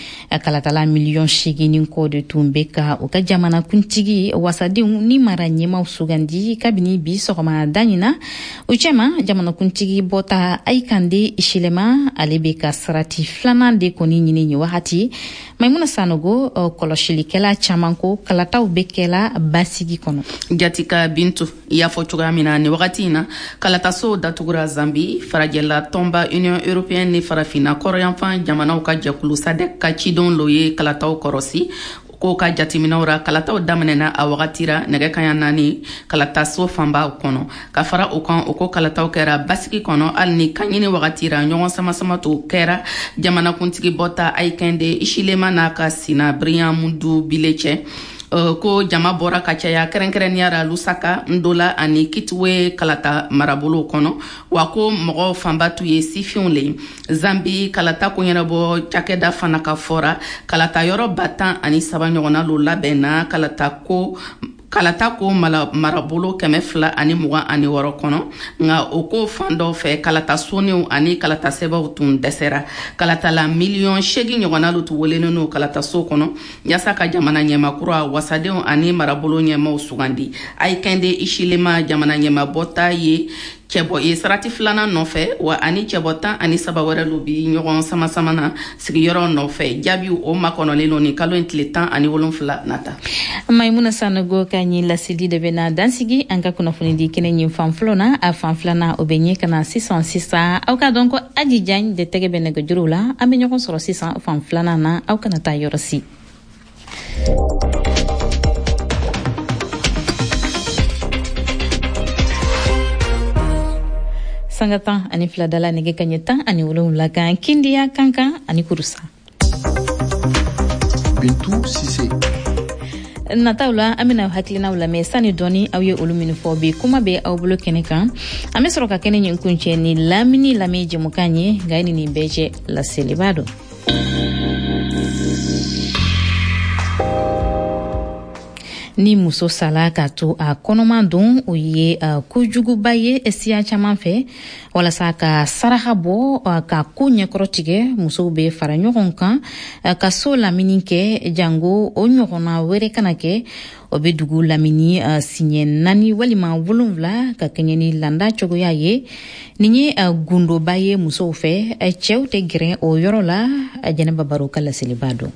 Kalatala miliyɔn seegin ni kɔ de tun bɛ ka u ka jamana kuntigi, wasadenw ni mara ɲɛmaw sugandi kabini bi sɔgɔma da ɲin na. U cɛma, jamanakuntigi bɔta Hakainde Hichilema, ale bɛ ka sarati filanan de kɔni ɲini nin wagati. Maimuna Sanogo, kɔlɔsilikɛla caman ko kalataw bɛ kɛla basigi kɔnɔ. Jatika Bintu, i y'a fɔ cogoya min na, nin wagati in na kalatasow datugura Zambi. Farajɛla tɔnba Union européenne ni Farafinna kɔrɔyanfan jamanaw ka jɛkulu SADC ka cidenw lo ye kalataw kɔrɔsi. Ko ka jateminɛw ra, kalataw daminɛna a wagati ra nɛgɛ kaɲa naani kalataso fanba kɔnɔ. Ka fara o kan, o ko kalataw kɛra basigi kɔnɔ, hali ni kaɲini wagati ra ɲɔgɔn samasama to kɛra jamanakuntigi bɔta Hakainde Hichilema n'a ka sina Brian Mundubile cɛ. Uh, ko jama bɔra ka caya kɛrɛnkɛrɛnniya ra Lusaka, Ndola ani Kitwe kalata marabolow kɔnɔ, wa ko mɔgɔ fanba tun ye sifinw le. Zambi kalata ko ɲɛnabɔ cakɛda fana ka fɔra, kalata yɔrɔ ba tan ani saba ɲɔgɔnna lo labɛnna kalata ko kalata ko marabolo kɛmɛ fila ani mugan ani wɔɔrɔ kɔnɔ. Nka o ko fan dɔw fɛ, kalata soniw ani kalata sɛbɛnw tun dɛsɛra. Kalatala miliyɔn seegin ɲɔgɔnna lu tun welenen no kalataso kɔnɔ yaasa ka jamana ɲɛmakura, wasadenw ani marabolo ɲɛmaw sugandi. Hakainde Hichilema, jamana ɲɛmabɔta ye. Cɛbɔ ye sarati filanan nɔfɛ, wa ani cɛbɔ tan ani saba wɛrɛ lu bi ɲɔgɔn sama-sama na sigiyɔrɔ nɔfɛ. Jaabiw o makɔnɔlen lo nin kalo in tile tan ani wolonfila nata. Maimuna Sanogo ka ɲi laseli de bɛna dansigi an ka kunnafoni di kɛnɛ ɲin fan fɔlɔ na. A fan filanan o bɛ ɲɛ ka na sisan sisan. Aw ka dɔn ko Aji Jan de tɛgɛ bɛ nɛgɛjuru la. An bɛ ɲɔgɔn sɔrɔ sisan fan filanan na, aw kana taa yɔrɔ si. Sanga tan ani fila dala nɛgɛ kaɲɛ tan ani wolonwula kan Kindiya Kankan ani Kurusa. Bintu Sise. Nataw la an bɛna hakilinaw lamɛn sani dɔɔni aw ye olu minnu fɔ bi kuma bɛ aw bolo kɛnɛ kan. An bɛ sɔrɔ ka kɛnɛ ɲin kuncɛ ni lamini lamɛn jɛmukan ye, nka ni nin bɛɛ cɛ laseliba don. Ni muso sala k'a to a kɔnɔman don, o ye uh, kojuguba ye siya caman fɛ. Walasa ka saraka bɔ uh, ka ko ɲɛkɔrɔ tigɛ, musow bɛ fara ɲɔgɔn kan uh, ka so lamini kɛ jango o ɲɔgɔnna wɛrɛ kana kɛ. O bɛ dugu lamini uh, siɲɛ naani walima wolonwula ka kɛɲɛ ni landa cogoya ye. Nin ye uh, gundoba ye musow fɛ, uh, cɛw tɛ gɛrɛ o yɔrɔ la. uh, Jɛnɛba Baro ka laseliba don.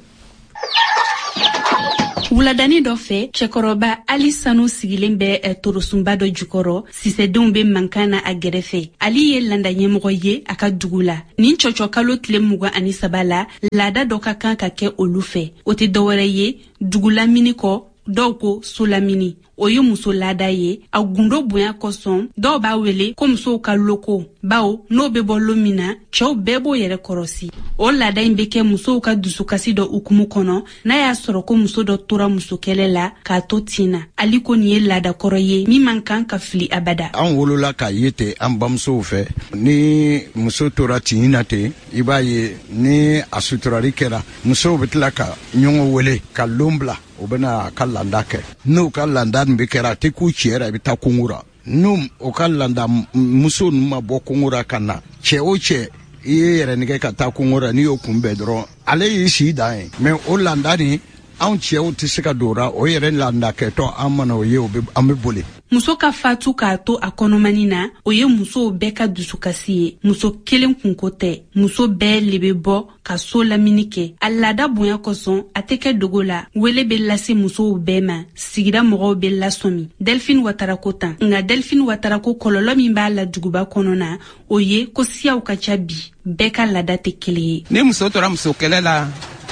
Wuladani dɔ fɛ, cɛkɔrɔba Ali Sanu sigilen bɛ torosunba dɔ jukɔrɔ. Sisedenw bɛ mankan na a gɛrɛfɛ. Ali ye landa ɲɛmɔgɔ ye a ka dugu la. Nin cɔcɔ kalo tile mugan ani saba la, laada dɔ ka kan ka kɛ olu fɛ. O tɛ dɔwɛrɛ ye dugu lamini kɔ, dɔw ko so lamini. O ye muso laada ye. A gundo bonya kosɔn, dɔw b'a wele ko musow ka loko, bawo n'o bɛ bɔ lon min na, cɛw bɛɛ b'o yɛrɛ kɔrɔsi. O laada in bɛ kɛ musow ka dusukasi dɔ hukumu kɔnɔ, n'a y'a sɔrɔ ko muso dɔ tora musokɛlɛ la k'a to tin na. Ali ko nin ye laada kɔrɔ ye min man kan ka fili abada. An wolola k'a ye ten an bamusow fɛ. Ni muso tora tin na ten, i b'a ye ni a suturali kɛra, musow bɛ tila ka ɲɔgɔn wele ka lon bila, o bɛna a ka landa kɛ. N'o ka landa nin bɛ kɛra, a tɛ k'u cɛ la, i bɛ taa kungo la. N'o o ka landa muso ninnu ma bɔ kungo la ka na, cɛ o cɛ i ye yɛrɛ nɛgɛ ka taa kungo la, n'i y'o kunbɛn dɔrɔn, ale y'i si dan ye. Mɛ o landa nin, anw cɛw tɛ se ka don o la. O yɛrɛ landa kɛtɔ, an mana o ye, o bɛ an bɛ boli. Muso ka fatu k'a to a kɔnɔmani na, o ye musow bɛɛ ka dusukasi ye. Muso kelen kunko tɛ, muso bɛɛ le bɛ bɔ ka so lamini kɛ. A laada bonya kosɔn, a tɛ kɛ dogo la. Wele bɛ lase musow bɛɛ ma, sigida mɔgɔw bɛ lasɔmi. Delphine Watara ko tan. Nka Delphine Watara ko kɔlɔlɔ min b'a la duguba kɔnɔ na, o ye ko siyaw ka ca bi, bɛɛ ka laada tɛ kelen ye. Ni muso tora muso kɛlɛ la,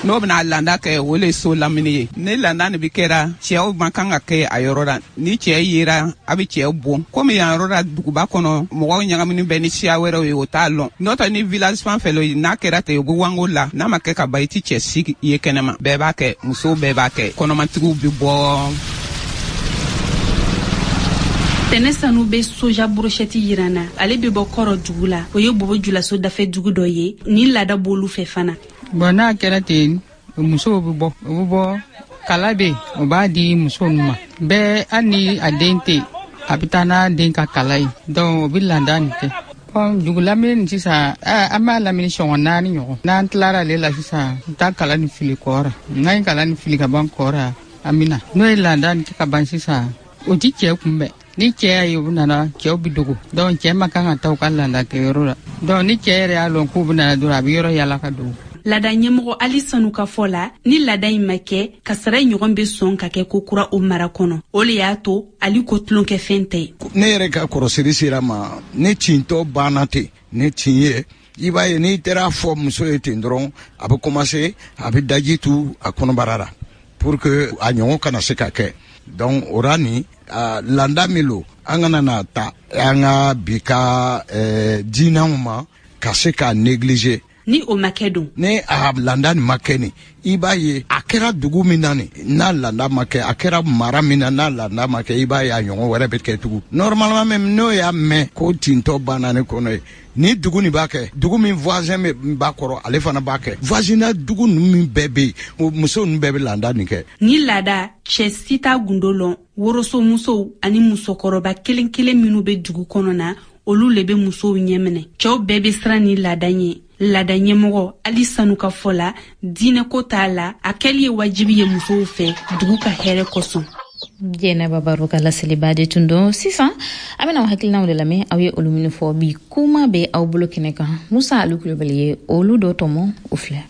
n'o bɛna landa kɛ, o le so lamini ye. Ni landa nin bi kɛra, cɛw man kan ka kɛ a yɔrɔ la. Ni cɛ yera, a bɛ cɛ bon. Komi yan yɔrɔ la duguba kɔnɔ, mɔgɔw ɲagamini bɛ ni siya wɛrɛw ye, o t'a lɔn. N'o tɛ ni village fan fɛ lo, n'a kɛra ten, u bɛ wango la. N'a ma kɛ ka ban, i ti cɛ si ye kɛnɛma. Bɛɛ b'a kɛ, musow bɛɛ b'a kɛ, kɔnɔmatigiw bɛ bɔ. Tɛnɛ Sanu bɛ soja brochette yira na. Ale bɛ bɔ Kɔrɔ dugu la. O ye Bobo Julaso dafɛ dugu dɔ ye. Nin laada b'olu fɛ fana. Bon, n'a kɛra ten, musow bɛ bɔ, o bɛ bɔ kala bɛ, o b'a di musow ma. Bɛɛ hali ni a den tɛ, a bɛ taa n'a den ka kala ye. Donc o bɛ landa nin kɛ. Bon, dugu lamini nin sisan, an b'a lamini sɔngɔ naani ɲɔgɔn. N'an tilara ale la sisan, n taa kala nin fili kɔra. N'an ye kala nin fili ka ban kɔra, an bɛ na. N'o ye landa nin kɛ ka ban sisan, o ti cɛ kunbɛn. Ni cɛ y'a ye u nana, cɛw bɛ dogo. Donc cɛ ma kan ka taa u ka landa kɛyɔrɔ la. Donc ni cɛ yɛrɛ y'a lɔn k'u bɛ na dɔrɔn, a bɛ yɔrɔ yala ka dogo. Laada ɲɛmɔgɔ Ali Sanu ka fɔ la, ni laada in ma kɛ, kasara ɲɔgɔn bɛ sɔn ka kɛ ko kura o mara kɔnɔ. O le y'a to Ali ko tulonkɛfɛn tɛ. Ne yɛrɛ ka kɔrɔsiri sera ma, ne tintɔ banna ten, ne tin ye. I b'a ye n'i taara fɔ muso ye ten dɔrɔn, a bɛ commencer, a bɛ daji tu a kɔnɔbara la pour que a ɲɔgɔn kana se ka kɛ. Donc o ra nin, landa min lo, an kana na ta an ka bi ka diinɛw ma ka se k'a négliger. Ni o ma kɛ dun, ni a landa nin ma kɛ nin, i b'a ye a kɛra dugu min na nin, n'a landa ma kɛ, a kɛra mara min na n'a landa ma kɛ, i b'a ye a ɲɔgɔn wɛrɛ bɛ kɛ tugun. Normalement même n'o y'a mɛn ko tintɔ banna ne kɔnɔ ye, ni dugu nin b'a kɛ, dugu min voisin bɛ b'a kɔrɔ, ale fana b'a kɛ. Voisinage dugu ninnu min bɛɛ bɛ yen, muso ninnu bɛɛ bɛ landa nin kɛ. Ni laada, cɛ si t'a gundo lɔn. Worosomusow ani musokɔrɔba kelen kelen minnu bɛ dugu kɔnɔ na, olu le bɛ musow ɲɛminɛ. Cɛw bɛɛ bɛ siran ni laada ɲɛ. Laada ɲɛmɔgɔ Ali Sanu ka fɔ la, diinɛko t'a la, a kɛli ye wajibi ye musow fɛ dugu ka hɛrɛ kosɔn. Jɛnɛba Baro ka laseliba de tun don. Sisan an bɛna aw hakilinaw de lamɛn, aw ye olu minnu fɔ bi. Kuma bɛ aw bolo kɛnɛ kan. Musa Alu Kulubali ye olu dɔ tɔmɔ, o filɛ.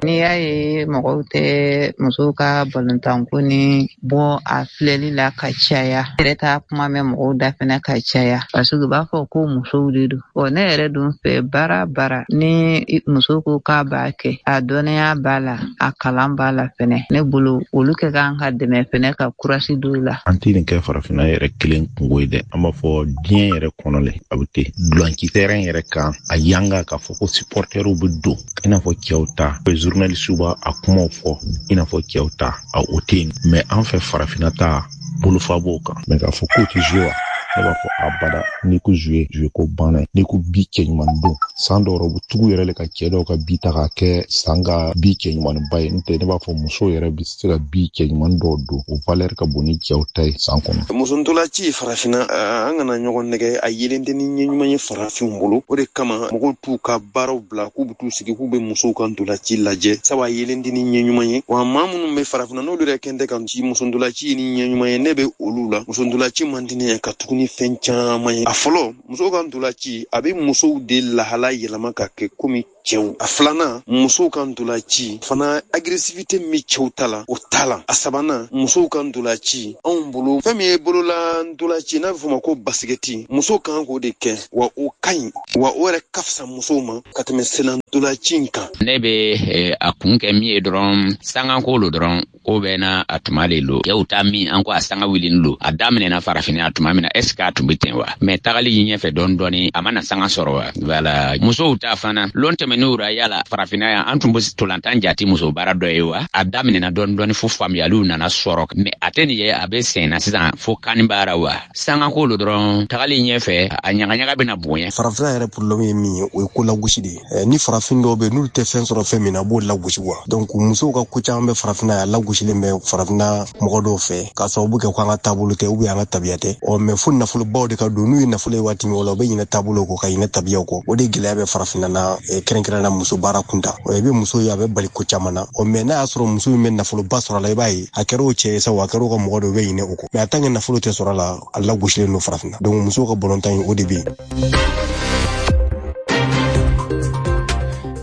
N'i y'a ye mɔgɔw tɛ musow ka balontanko ni bɔ a filɛli la ka caya, yɛrɛ t'a kuma mɛn mɔgɔw da fɛnɛ ka caya, parce que u b'a fɔ ko musow de don. Ɔ ne yɛrɛ dun fɛ, baara baara ni muso ko k'a b'a kɛ, a dɔnniya b'a la, a kalan b'a la fɛnɛ, ne bolo olu kɛ kan ka dɛmɛ fɛnɛ ka kurasi don la. An tɛ nin kɛ farafinna yɛrɛ kelen kungo ye dɛ, an b'a fɔ diɲɛ yɛrɛ kɔnɔ le a bɛ ten. Dulanci terrain yɛrɛ kan, a yanga k'a fɔ ko supporteriw bɛ don i n'a fɔ cɛw ta, journaliste b'a a kumaw fɔ i n'a fɔ cɛw ta, a o tɛ yen. Mais an fɛ farafinna ta bolofa b'o kan. Mais k'a fɔ k'o tɛ jouer wa, ne b'a fɔ abada. N'i ko jouer, jouer ko banna ye. N'i ko bi cɛɲuman don, san dɔw u bɛ tugu yɛrɛ le ka cɛ dɔw ka bi ta k'a kɛ san ka bi cɛɲumanba ye. N'o tɛ ne b'a fɔ musow yɛrɛ bɛ se ka bi cɛɲuman dɔw don, o valeur ka bon ni cɛw ta ye san kɔnɔ. Muso ntolaci farafinna, an kana ɲɔgɔn nɛgɛ, a yelen tɛ ni ɲɛ ɲuman ye farafinw bolo. O de kama mɔgɔw t'u ka baaraw bila k'u bɛ t'u sigi k'u bɛ musow ka ntolaci lajɛ, sabu a yelen tɛ ni ɲɛ ɲuman ye. Wa maa minnu bɛ farafinna n'olu yɛrɛ kɛn tɛ ka muso ntolaci ni ɲɛ ɲuman ye, ne bɛ olu la. Muso ntolaci man di ne ye ka tugu ni fɛn caman ye. A fɔlɔ, musow ka ntolaci a bɛ musow de lahala yɛlɛma ka kɛ komi cɛw. A filanan, musow ka ntolaci fana agressivité min cɛw ta la, o t'a la. A sabanan, musow ka ntolaci anw bolo, fɛn min ye bolola ntolaci n'a bɛ fɔ o ma ko basikɛti, musow kan k'o de kɛ, wa o ka ɲi, wa o yɛrɛ ka fisa musow ma ka tɛmɛ senna ntolaci in kan. Ne bɛ a kun kɛ min ye dɔrɔn, sanganko lo dɔrɔn, ko bɛɛ n'a a tuma de lo. Cɛw ta min an ko a sanga wulini lo, a daminɛna farafinna a tuma min na, est ce que a tun bɛ ten wa? Mais tagali ɲɛfɛ dɔɔni dɔɔni, a mana sanga sɔrɔ wa? Voilà. Musow ta fana lon tɛmɛn'u ra, yala farafinna yan an tun bɛ tolantan jate muso baara dɔ ye wa? A daminɛna dɔɔni dɔɔni fo faamuyaliw nana sɔrɔ, mais a tɛ nin ye a bɛ sen na sisan fo kani baara wa? Sangako lo dɔrɔn, tagali ɲɛfɛ a ɲagaɲaga bɛna bonya. Farafinna yɛrɛ problème ye min ye, o ye ko lagosi de ye. Ni farafin dɔw bɛ yen n'olu tɛ fɛn sɔrɔ fɛn min na, a b'o lagosi wa. Donc musow ka ko caman bɛ farafinna yan, lagosilen bɛ farafinna mɔgɔ dɔw fɛ k'a sababu kɛ ko an ka taabolo tɛ ou bien an ka tabiya tɛ. Ɔ mais fo nafolobaw de ka don, n'u ye nafolo ye waati min o la, u bɛ ɲinɛ taabolo kɔ ka ɲinɛ tabiyaw kɔ. O de gɛlɛya bɛ farafinna na, kɛrɛnkɛrɛnnenya muso baara kunta. Ɔ i bɛ muso ye a bɛ bali ko caman na. Ɔ mais n'a y'a sɔrɔ muso min bɛ nafoloba sɔrɔ a la, i b'a ye a kɛra o cɛ ye sa, o a kɛra o ka mɔgɔ dɔ, u bɛ ɲinɛ o kɔ. Mais a tant que nafolo tɛ sɔrɔ a la, a lagosilen don farafinna. Donc musow ka balontan in, o de bɛ yen.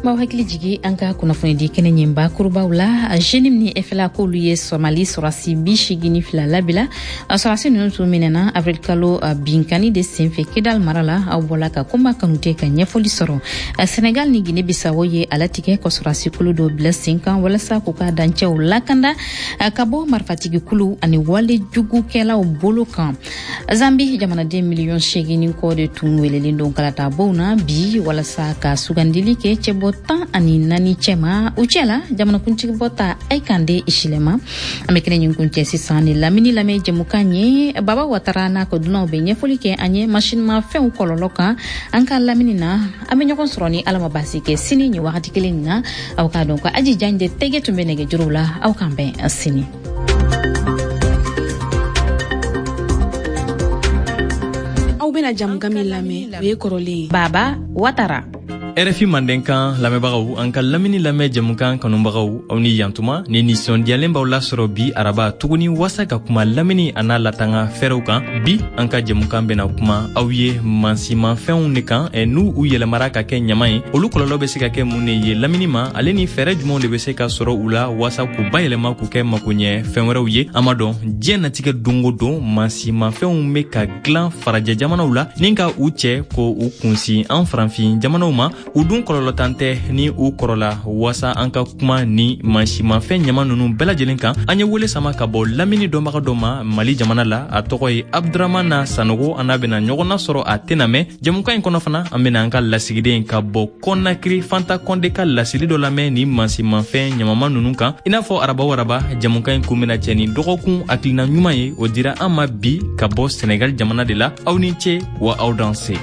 M'aw hakili jigi an ka kunnafonidi kɛnɛ ɲin bakurubaw la. Jenim ni F L A k'olu ye Somali sɔrɔsi bi seegin ni fila labila. Sɔrɔsi ninnu tun minɛna avril kalo binkani de senfɛ Kidal mara la. Aw bɔla ka Kunba Kanute ka ɲɛfɔli sɔrɔ. Senegal ni Guinée Bissau ye a latigɛ ka sɔrɔsi kulu dɔ bila sen kan walasa k'u ka dancɛw lakanda ka bɔ marifatigi kulu ani wale jugukɛlaw bolo kan. Zambi jamanaden miliyɔn seegin ni kɔ de tun welelen don kalata bonw na bi walasa ka sugandili kɛ cɛbɔ tan ani naani cɛma. U cɛ la jamanakuntigi bɔta Hakainde Hichilema. An bɛ kɛnɛ ɲin kuncɛ sisan ni lamini lamɛn jɛmukan ye. Baba Watara n'a ka dunanw bɛ ɲɛfɔli kɛ an ye masinimafɛnw kɔlɔlɔ kan an ka lamini na. An bɛ ɲɔgɔn sɔrɔ ni Ala ma baasi kɛ sini nin wagati kelen na. Aw k'a dɔn ko Aji Janje tɛgɛ tun bɛ nɛgɛjuru la. Aw k'an bɛn sini. Aw bɛna jamukan min lamɛn, o ye kɔrɔlen ye. Baba Watara. R F I Mandenkan lamɛnbagaw, an ka lamini lamɛn jɛmukan kanubagaw, aw ni yantuma ni nisɔndiyalen b'aw lasɔrɔ bi araba tuguni wasa ka kuma lamini a n'a latanga fɛɛrɛw kan. Bi an ka jɛmukan bɛna kuma aw ye mansimafɛnw de kan, n'u u yɛlɛmara ka kɛ ɲama ye, olu kɔlɔlɔ bɛ se ka kɛ mun de ye lamini ma, ale ni fɛɛrɛ jumɛnw de bɛ se ka sɔrɔ u la wasa k'u bayɛlɛma k'u kɛ makoɲɛ fɛn wɛrɛw ye. An b'a dɔn diɲɛ natigɛ don o don mansimafɛnw bɛ ka dilan farajɛ jamanaw la ni ka u cɛ ko u kunsin an farafin jamanaw ma. U dun kɔlɔlɔtan tɛ ni u kɔrɔla. Wasa an ka kuma ni mansimafɛn ɲama ninnu bɛɛ lajɛlen kan, an ye wele sama ka bɔ lamini dɔnbaga dɔ ma Mali jamana la. A tɔgɔ ye Abdramana Sanogo. An n'a bɛna ɲɔgɔn nasɔrɔ a tɛna mɛn jɛmukan in kɔnɔ fana. An bɛna an ka lasigiden ka bɔ Kɔnakiri Fanta Kɔnde ka laseli dɔ lamɛn ni mansimafɛn ɲamama ninnu kan. I n'a fɔ araba o araba, jɛmukan in kun bɛna cɛ ni dɔgɔkun hakilina ɲuman ye. O dira an ma bi ka bɔ Senegal jamana de la. Aw ni ce wa aw danse.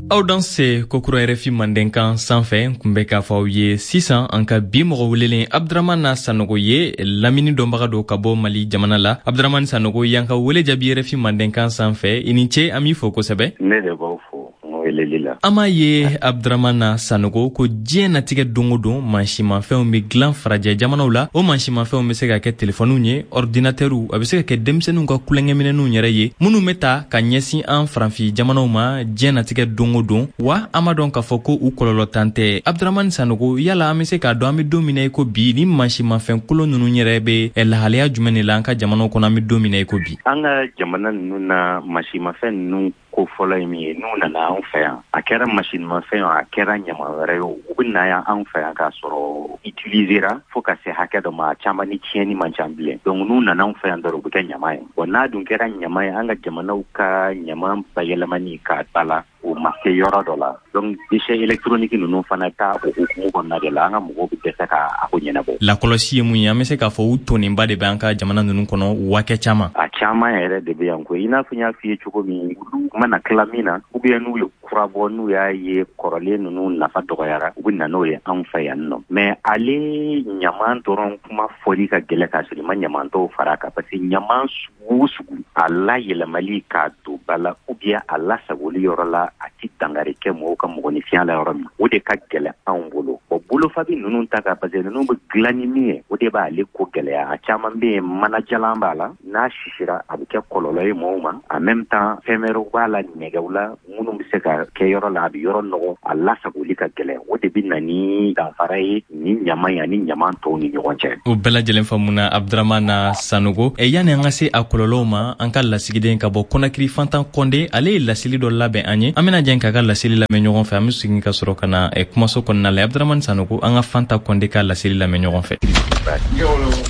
Aw danse kokura R F I Mandenkan sanfɛ. Kun bɛ k'a fɔ aw ye sisan an ka bi mɔgɔ welelen Abdramana Sanogo ye lamini dɔnbaga dɔ ka bɔ Mali jamana la. Abdramani Sanogo, y'an ka wele jaabi R F I Mandenkan sanfɛ. I ni ce, an b'i fo kosɛbɛ. Ne de b'aw fo. Weleli la. An b'a ye Abdramana Sanogo ko diɲɛ natigɛ don o don mansimafɛnw bɛ dilan farajɛ jamanaw la. O mansimafɛnw bɛ se ka kɛ telefɔniw ye, ordinatɛriw, a bɛ se ka kɛ denmisɛnninw ka kulonkɛminɛnw yɛrɛ ye minnu bɛ ta ka ɲɛsin an farafin jamanaw ma diɲɛ natigɛ don o don. Wa an b'a dɔn k'a fɔ ko u kɔlɔlɔ tan tɛ. Abdramani Sanogo, yala an bɛ se k'a dɔn an bɛ don min na i ko bi, ni mansimafɛn kolon ninnu yɛrɛ bɛ lahalaya jumɛn de la an ka jamanaw kɔnɔ an bɛ don min na i ko bi? An ka jamana ninnu na mansimafɛn ninnu ko fɔlɔ ye min ye, n'u nana anw fɛ yan, a kɛra masinimafɛn o, a kɛra ɲama wɛrɛ ye o, u bɛ na yan anw fɛ yan k'a sɔrɔ utilisera fo ka se hakɛ dɔ ma, a caman ni tiɲɛni man ca bilen. Donc n'u nana anw fɛ yan dɔrɔn u bɛ kɛ ɲama ye. Bon, n'a dun kɛra ɲama ye, an ka jamanaw ka ɲama bayɛlɛmani k'a ba la, o ma se yɔrɔ dɔ la. Donc déchets électroniques ninnu fana ta o hukumu kɔnɔna de la, an ka mɔgɔw bɛ dɛsɛ ka a ko ɲɛnabɔ. Lakɔlɔsi ye mun ye? An bɛ se k'a fɔ u tonnenba de bɛ an ka jamana ninnu kɔnɔ wakɛ caman. A caman yɛrɛ de bɛ yan koyi. I n'a fɔ n y'a f'i ye cogo min, olu mana tila min na, ou bien n'u ye kura bɔ, n'u y'a ye kɔrɔlen ninnu nafa dɔgɔyara, u bɛ na n'o ye anw fɛ yan nɔ. Mais ale ɲaman dɔrɔn kuma fɔli ka gɛlɛn k'a sɔrɔ i ma ɲaman tɔw fara a kan, parce que ɲaman sugu o sugu, a layɛlɛmali k'a don ba la ou bien a lasagoli yɔrɔ la, a ti dankari kɛ mɔgɔw ka mɔgɔninfinya la yɔrɔ min, o de ka gɛlɛn anw bolo. Bon, bolofabi ninnu ta kan, parce que ninnu bɛ dilan ni min ye, o de b'ale ko gɛlɛya. A caman bɛ yen, manajalan b'a la, n'a sisira a bɛ kɛ kɔlɔlɔ ye mɔgɔw ma. En même temps, fɛn wɛrɛw b'a la, nɛgɛw la, minnu bɛ se ka kɛ yɔrɔ la, a bɛ yɔrɔ nɔgɔ, a lasagoli ka gɛlɛn. O de bɛ na ni danfara ye ni ɲama in ani ɲaman tɔw ni ɲɔgɔn cɛ. O bɛɛ lajɛlen faamuna, Abdramana Sanogo. E, yanni an ka se a kɔlɔlɔw ma, an ka lasigiden ka bɔ Kɔnakiri, Fantan Kɔnde, ale ye laseli dɔ labɛn an ye. An bɛna jɛn k'a ka laseli lamɛn ɲɔgɔn fɛ. An bɛ segin ka sɔrɔ ka na kumaso kɔnɔna la. Abdramani Sanogo, an ka Fanta Kɔnde ka laseli lamɛn ɲɔgɔn fɛ.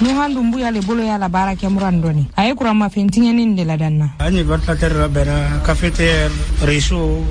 Nuhan Dumbuya le bolo y'a la baara kɛ muran dɔɔni, a ye kuranmafɛn tiɲɛni de ladanna. An ye ventilateur labɛnna, cafetière, réchaud,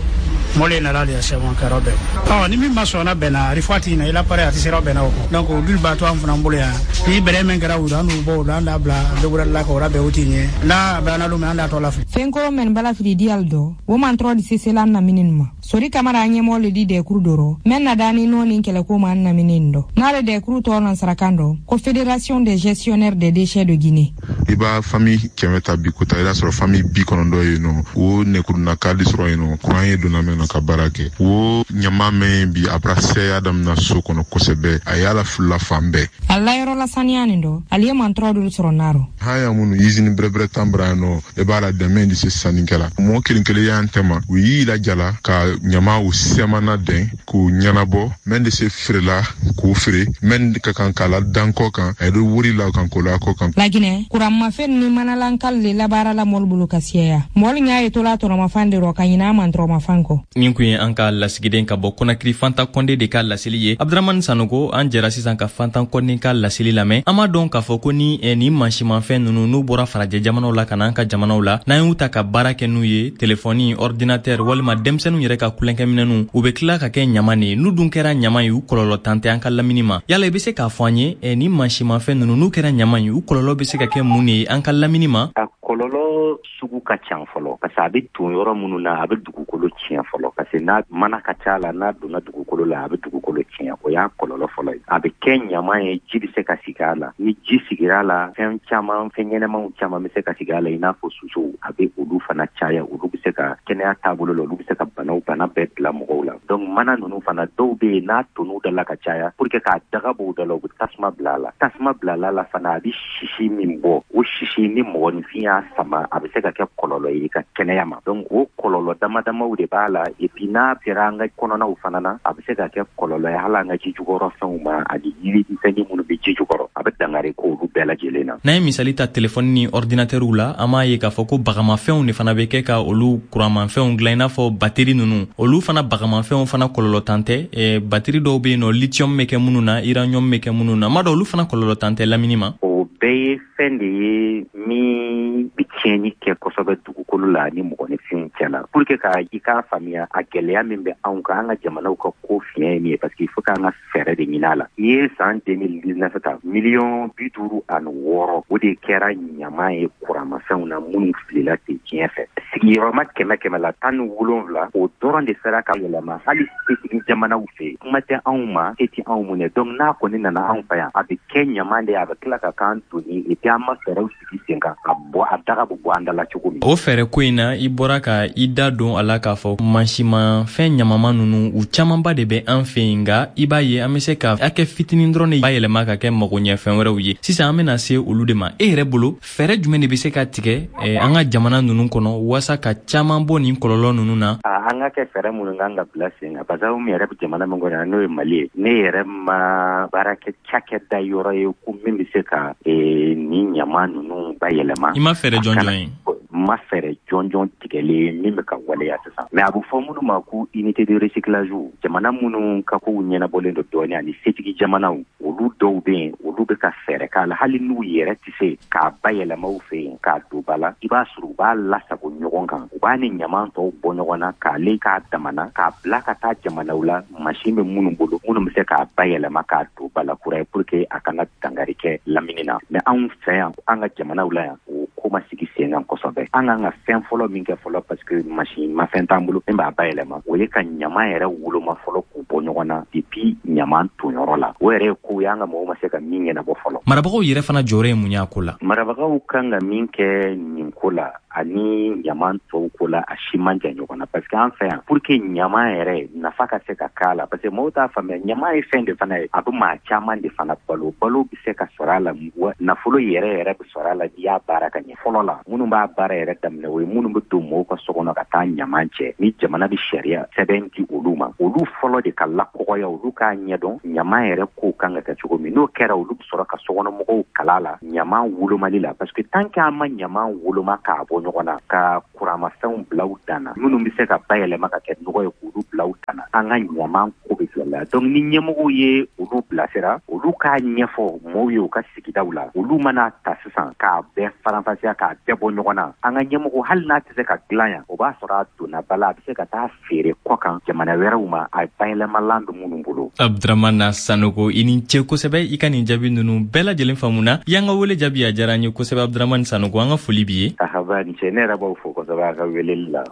mɔle nana de sɛbɛn kɛra bɛn. Ɔ, ni min ma sɔn na bɛnna, a fɔ na i la pare a tɛ sera bɛnna o kɔ. Donc olu b'a to an fana bolo yan, ni bɛrɛ min kɛra u an n'u bɔ o la, an d'a bila dogorali la ka o labɛn o ti ɲɛ n'a bɛnna don min, an d'a tɔ lafili. Fɛnkɔrɔ mɛn bala fili diyal dɔ wo man tɔrɔ di sesela namini ma. Sori Kamara an ɲɛmɔgɔ le di dɛkuru dɔrɔ mɛn na dani nɔ ni kɛlɛko ma an namini dɔ n'ale dɛkuru tɔgɔ nansarakan dɔ ko Fédération des gestionnaires des déchets de Guinée. I b'a famille kɛmɛ ta bi kota, i b'a sɔrɔ famille bi kɔnɔntɔn yen nɔ, o nɛkuruna kadi sɔrɔ yen nɔ, kuran ye donna mɛn na ka baara kɛ. O ɲama mɛn bi a bara sɛya damina so kɔnɔ kosɛbɛ, a y'a la filila fan bɛɛ. A layɔrɔ la saniya nin dɔ, ale ye mantɔrɔ dolu sɔrɔ narɔ. Han ya minnu usine bɛrɛbɛrɛ tan bara yan nɔ, i b'a la dɛmɛ di se sannikɛla mɔgɔ kelen kelen y'an tɛma, u y'i lajala ka ɲama u sɛmana dɛn k'u ɲɛnabɔ mɛn de se feerela k'o feere mɛn ka kan k'a la dan kɔ kan, a ye wuri la kan k'o la kɔ kan. Laginɛ, kuranmafɛn ni manalankal le labaara la mɔli bolo ka siyaya mɔli ɲa ye tola tɔnɔmafan de rɔ ka ɲina a man tɔrɔmafan kɔ. Nin kun ye an ka lasigiden ka bɔ Kɔnakiri, Fanta Kɔnde de ka laseli ye. Abdramani Sanogo, an jɛra sisan ka Fantan Kɔnde ka laseli lamɛn. An b'a dɔn k'a fɔ ko ni eh, nin mansimafɛn nunu n'u bɔra farajɛ jamanaw la ka na an ka jamanaw la, n'an y'u ta ka baara kɛ n'u ye, telefɔni, ordinateur walima denmisɛnninw yɛrɛ ka kulonkɛminɛnw, u bɛ tila ka kɛ ɲama de ye. N'u dun kɛra ɲama ye, u kɔlɔlɔ tan tɛ an ka lamini ma. Yala i bɛ se k'a fɔ an ye, eh, nin mansimafɛn nunu n'u kɛra ɲama ye, u kɔlɔlɔ bɛ se ka kɛ mun de ye an ka lamini ma? A kɔlɔlɔ sugu ka ca fɔlɔ, parce que a bɛ ton yɔrɔ minnu na, a bɛ dugukolo tiɲɛ fɔlɔ, parce que n'a mana ka ca la, n'a donna dugukolo la, a bɛ dugukolo tiɲɛ. O y'a kɔlɔlɔ fɔlɔ ye. A bɛ kɛ ɲama ye, ji bɛ se ka sigi a la. Ni ji sigira a la, fɛn caman, fɛn ɲɛnɛmaw caman bɛ se ka sigi a la, i n'a fɔ sosow, a bɛ olu fana caya. Olu bɛ se ka kɛnɛya taabolo la, olu bɛ se ka banaw bana bɛɛ bila mɔgɔw la. Donc mana ninnu fana, dɔw bɛ yen, n'a tonn'u da la ka caya, pour que k'a daga bɔ u da la, u bɛ tasuma bila a la. Tasuma bila la fana, a bɛ sisi min bɔ, o sisi, ni mɔgɔninfin y'a sama, a bɛ se ka kɛ kɔlɔlɔ ye i ka kɛnɛya ma. Donc o kɔlɔlɔ dama damaw de b'a la. Et puis n'a sera an ka kɔnɔnaw fana na, a bɛ se ka kɛ kɔlɔlɔ ye hali an ka ji jukɔrɔ fɛnw ma, ani yirimisɛnnin minnu bɛ ji jukɔrɔ, a bɛ dankari k'olu bɛɛ lajɛlen na. N'an ye misali ta telefɔni ni ordinateurw la, an b'a ye k'a fɔ ko bagamafɛnw de fana bɛ kɛ ka olu kuranmafɛnw dilan, i n'a fɔ bateri ninnu. Olu fana bagamafɛnw fana kɔlɔlɔ tan tɛ. eh, bateri dɔw bɛ yen nɔ, lithium bɛ kɛ minnu na, uranium bɛ kɛ minnu na, n b'a dɔn olu fana kɔlɔlɔ tan tɛ lamini ma. O bɛɛ ye fɛn de ye min bɛ tiɲɛni kɛ kosɛbɛ dugukolo la ani mɔgɔninfinw cɛ la. Pour que ka i k'a faamuya a gɛlɛya min bɛ anw kan, an ka jamanaw ka ko fiɲɛ ye min ye, parce que il faut k'an ka fɛɛrɛ de ɲini a la. N'i ye san deux mille dix-neuf ta, miliyɔn bi duuru ani wɔɔrɔ, o de kɛra ɲama ye kuramafɛnw na minnu filila ten diɲɛ fɛ. Sigiyɔrɔma kɛmɛ kɛmɛ la tan ni wolonwula o dɔrɔn de sera ka yɛlɛma hali setigi jamanaw fɛ, kuma tɛ anw ma, se tɛ anw mun ye. Donc n'a kɔni nana anw fɛ yan, a bɛ kɛ ɲaman de ye, a bɛ tila ka k'an doni, et puis an ma fɛɛrɛw sigi sen kan ka bɔ a daga bɛ bɔ an da la cogo min. O fɛɛrɛ ko in na, i bɔra ka i da don a la k'a fɔ mansimafɛn ɲamama ninnu u camanba de bɛ an fɛ yen, nka i b'a ye an bɛ se ka hakɛ fitinin dɔrɔn de bayɛlɛma ka kɛ magoɲɛfɛn wɛrɛw ye. Sisan an bɛna se olu de ma. E yɛrɛ bolo, fɛɛrɛ jumɛn de bɛ se ka tigɛ an ka jamana ninnu kɔnɔ waasa ka caman bɔ nin kɔlɔlɔ ninnu na? An ka kɛ fɛɛrɛ minnu kan ka bila sen kan, parce que anw yɛrɛ bɛ jamana min kɔnɔ n'o ye Mali ye, ne yɛrɛ ma baara kɛ cakɛda yɔrɔ ye ko min bɛ se ka nin ɲama ninnu bayɛlɛma. I ma fɛɛrɛ jɔnjɔn ye? Ma fɛɛrɛ jɔnjɔn tigɛlen min bɛ ka waleya sisan. Mais a bɛ fɔ minnu ma ko unité de recyclage, jamana minnu ka kow ɲɛnabɔlen don dɔɔnin ani setigi jamanaw, olu dɔw bɛ yen, olu bɛ ka fɛɛrɛ k'a la, hali n'u yɛrɛ tɛ se k'a bayɛlɛma u fɛ yen k'a don ba la, i b'a sɔrɔ u b'a lasago ɲɔgɔn kan, u b'a ni ɲaman tɔw bɔ ɲɔgɔn na k'ale k'a damana k'a bila ka taa jamanaw la mansin bɛ minnu bolo, minnu bɛ se k'a bayɛlɛma k'a don ba la kura ye pour que a kana dankari kɛ lamini na. Mais anw fɛ yan, an ka jamanaw la yan, o ko ma sigi sen kan kosɛbɛ. An kan ka fɛn fɔlɔ min kɛ fɔlɔ, parce que mansin mafɛn t'an bolo min b'a bayɛlɛma, o ye ka ɲaman yɛrɛ woloma fɔlɔ k'u bɔ ɲɔgɔn na depuis ɲaman tonyɔrɔ la. O yɛrɛ ye ko ye an ka mɔgɔw ma se ka min ɲɛnabɔ fɔlɔ. Marabagaw yɛrɛ fana jɔyɔrɔ ye mun ye a ko la? Marabagaw kan ka min kɛ nin ko la ani ɲaman tɔw ko la, a si man jan ɲɔgɔn na, parce que an fɛ yan, pour que ɲaman yɛrɛ nafa ka se ka k'a la, parce que mɔgɔw t'a faamuya, ɲaman ye fɛn de fana ye, a bɛ maa caman de fana balo, balo bɛ se ka sɔrɔ a la, nafolo yɛrɛ yɛrɛ bɛ sɔrɔ a la n'i y'a baara ka ɲɛ. Fɔlɔ la, minnu b'a baara yɛrɛ daminɛ, o ye minnu bɛ don mɔgɔw ka so kɔnɔ ka taa ɲaman cɛ, ni jamana bɛ sariya sɛbɛn di olu ma, olu fɔlɔ de ka lakɔgɔya, olu k'a ɲɛdɔn ɲaman yɛrɛ kow kan ka kɛ cogo min. N'o kɛra, olu bɛ sɔrɔ ka sokɔnɔmɔgɔw kala la ɲaman wolomali la, parce que tant que an ma ɲaman woloma k'a bɔ ɲɔgɔn na, ka kuramafɛnw bila u dan na, minnu bɛ se ka bayɛlɛma ka kɛ nɔgɔ ye k'olu bila u dan na, an ka ɲaman ko bɛ gɛlɛya. Donc ni ɲɛmɔgɔw ye olu bilasira, olu k'a ɲɛfɔ mɔgɔw ye u ka sigidaw la, olu mana ta sisan k'a bɛɛ faranfasiya k'a bɛɛ bɔ ɲɔgɔn na, an ka ɲɛmɔgɔ hali n'a tɛ se ka dilan yan, o b'a sɔrɔ a donna ba la, a bɛ se ka taa feere kɔ kan jamana wɛrɛw ma, a bayɛlɛmalan bɛ minnu bolo. Abdramana Sanogo, i ni ce kosɛbɛ, i ka nin jaabi ninnu bɛɛ lajɛlen faamuna. I y'an ka wele jaabi, a diyara an ye kosɛbɛ. Abdramane Sanogo, an ka foli b'i ye. Ahaba, ni ce, ne yɛrɛ b'aw fo kosɛbɛ a ka weleli la.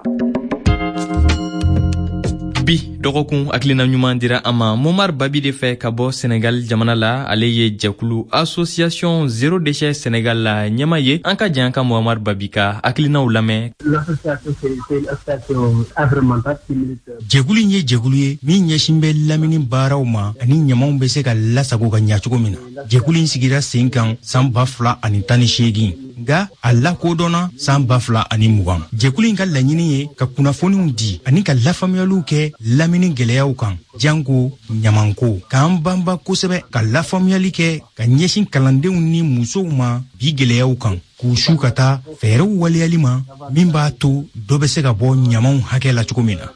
Bi dɔgɔkun hakilina ɲuman dira an ma Momar Babi de fɛ ka bɔ Senegal jamana la. Ale ye jɛkulu Association Zéro Déchet Senegal la ɲɛma ye. An ka jan ka Momar Babi ka hakilinaw lamɛn. Jɛkulu in ye jɛkulu ye min ɲɛsin bɛ lamini baaraw ma ani ɲamanw bɛ se ka lasago ka ɲa cogo min na. Jɛkulu in sigira sen kan san ba fila ani tan ni seegin, nka a lakodɔnna san ba fila ani mugan. Jɛkulu in ka laɲini ye ka kunnafoniw di ani ka lafaamuyaliw kɛ lamini gɛlɛyaw kan, janko ɲamanko, k'an banba kosɛbɛ ka lafaamuyali kɛ ka ɲɛsin kalandenw ni musow ma bi gɛlɛyaw kan, k'u su ka taa fɛɛrɛw waleyali ma min b'a to dɔ bɛ se ka bɔ ɲamanw hakɛ la cogo min na.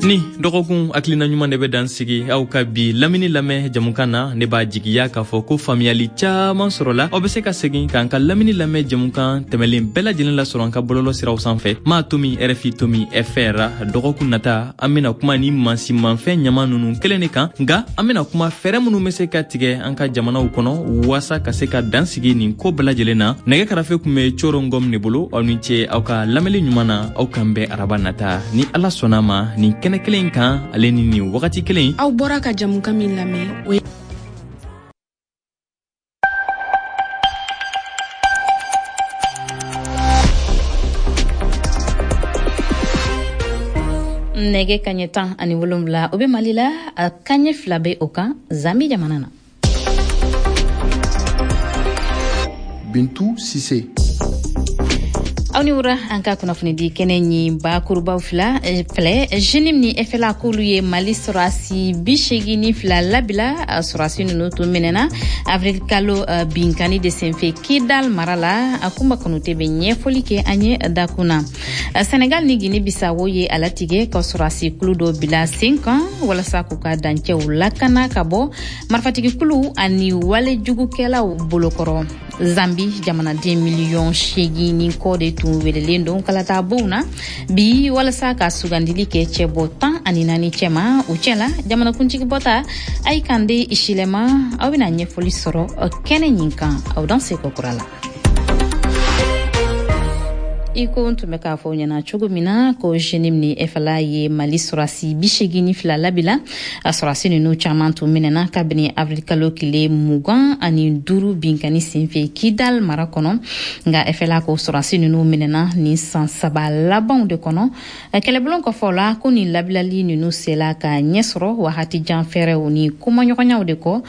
Ni dɔgɔkun hakilina ɲuman de bɛ dan sigi aw ka bi lamini lamɛn jamukan na. Ne b'a jigiya k'a fɔ ko faamuyali caman sɔrɔla. Aw bɛ se ka segin k'an ka lamini lamɛn jamukan tɛmɛlen bɛɛ lajɛlen lasɔrɔ an ka bɔlɔlɔ siraw sanfɛ, maa tomi R F I tomi F R. Dɔgɔkun nata, an bɛna kuma ni mansinmafɛn ɲama ninnu kelen de kan, nka an bɛna kuma fɛɛrɛ minnu bɛ se ka tigɛ an ka jamanaw kɔnɔ waasa ka se ka dan sigi nin ko bɛɛ lajɛlen na. Nɛgɛ karafe tun bɛ Coro Ngom de bolo. Aw ni ce aw ka lamɛnli ɲuman na. Aw k'an bɛn araba nata ni Ala sɔnna ma nin kɛnɛ kelen kan, ale ni nin wagati kelen. Aw bɔra ka jamukan min lamɛn, o ye nɛgɛ kaɲɛ tan ani wolonwula, o bɛ Mali la, a kaɲɛ fila bɛ o kan Zambi jamana na. Bintu Sise. Aw ni wura, an ka kunnafonidi kɛnɛ ɲi bakurubaw fila filɛ. Jenim ni F L A k'olu ye Mali sɔrɔsi bi seegin ni fila labila. Sɔrɔsi ninnu tun minɛna avril kalo binkani de senfɛ Kidal mara la. A Kunba Kanute bɛ ɲɛfɔli kɛ an ye dakun na. Senegal ni Guinée Bissau ye a latigɛ ka sɔrɔsi kulu dɔ bila sen kan walasa k'u ka dancɛw lakana ka bɔ marifatigikulu ani walejugukɛlaw bolokɔrɔ. Zambi jamanaden miliyɔn seegin ni kɔ de tun welelen don kalata bonw na bi walasa ka sugandili kɛ cɛbɔ tan ani naani cɛma. O cɛ la, jamanakuntigi bɔta Hakainde Hichilema, aw bɛna ɲɛfɔli sɔrɔ kɛnɛ ɲin kan. Aw dan se kura la. I ko n tun bɛ k'a fɔ ɲɛna cogo min na ko JNIM ni F L A ye Mali sɔrɔdasi bi segin ni fila labila. A sɔrɔdasi ninnu caman tun minɛna kabini avril kalo tile mugan ani duuru binkani senfɛ Kidal mara kɔnɔ. Nka F L A ko sɔrɔdasi ninnu minɛna nin san saba labanw de kɔnɔ. Kɛlɛbulon kɔfɛ la, ko nin labilali ninnu sela ka ɲɛ sɔrɔ wagati jan fɛɛrɛw ni kumaɲɔgɔnyaw de kɔ.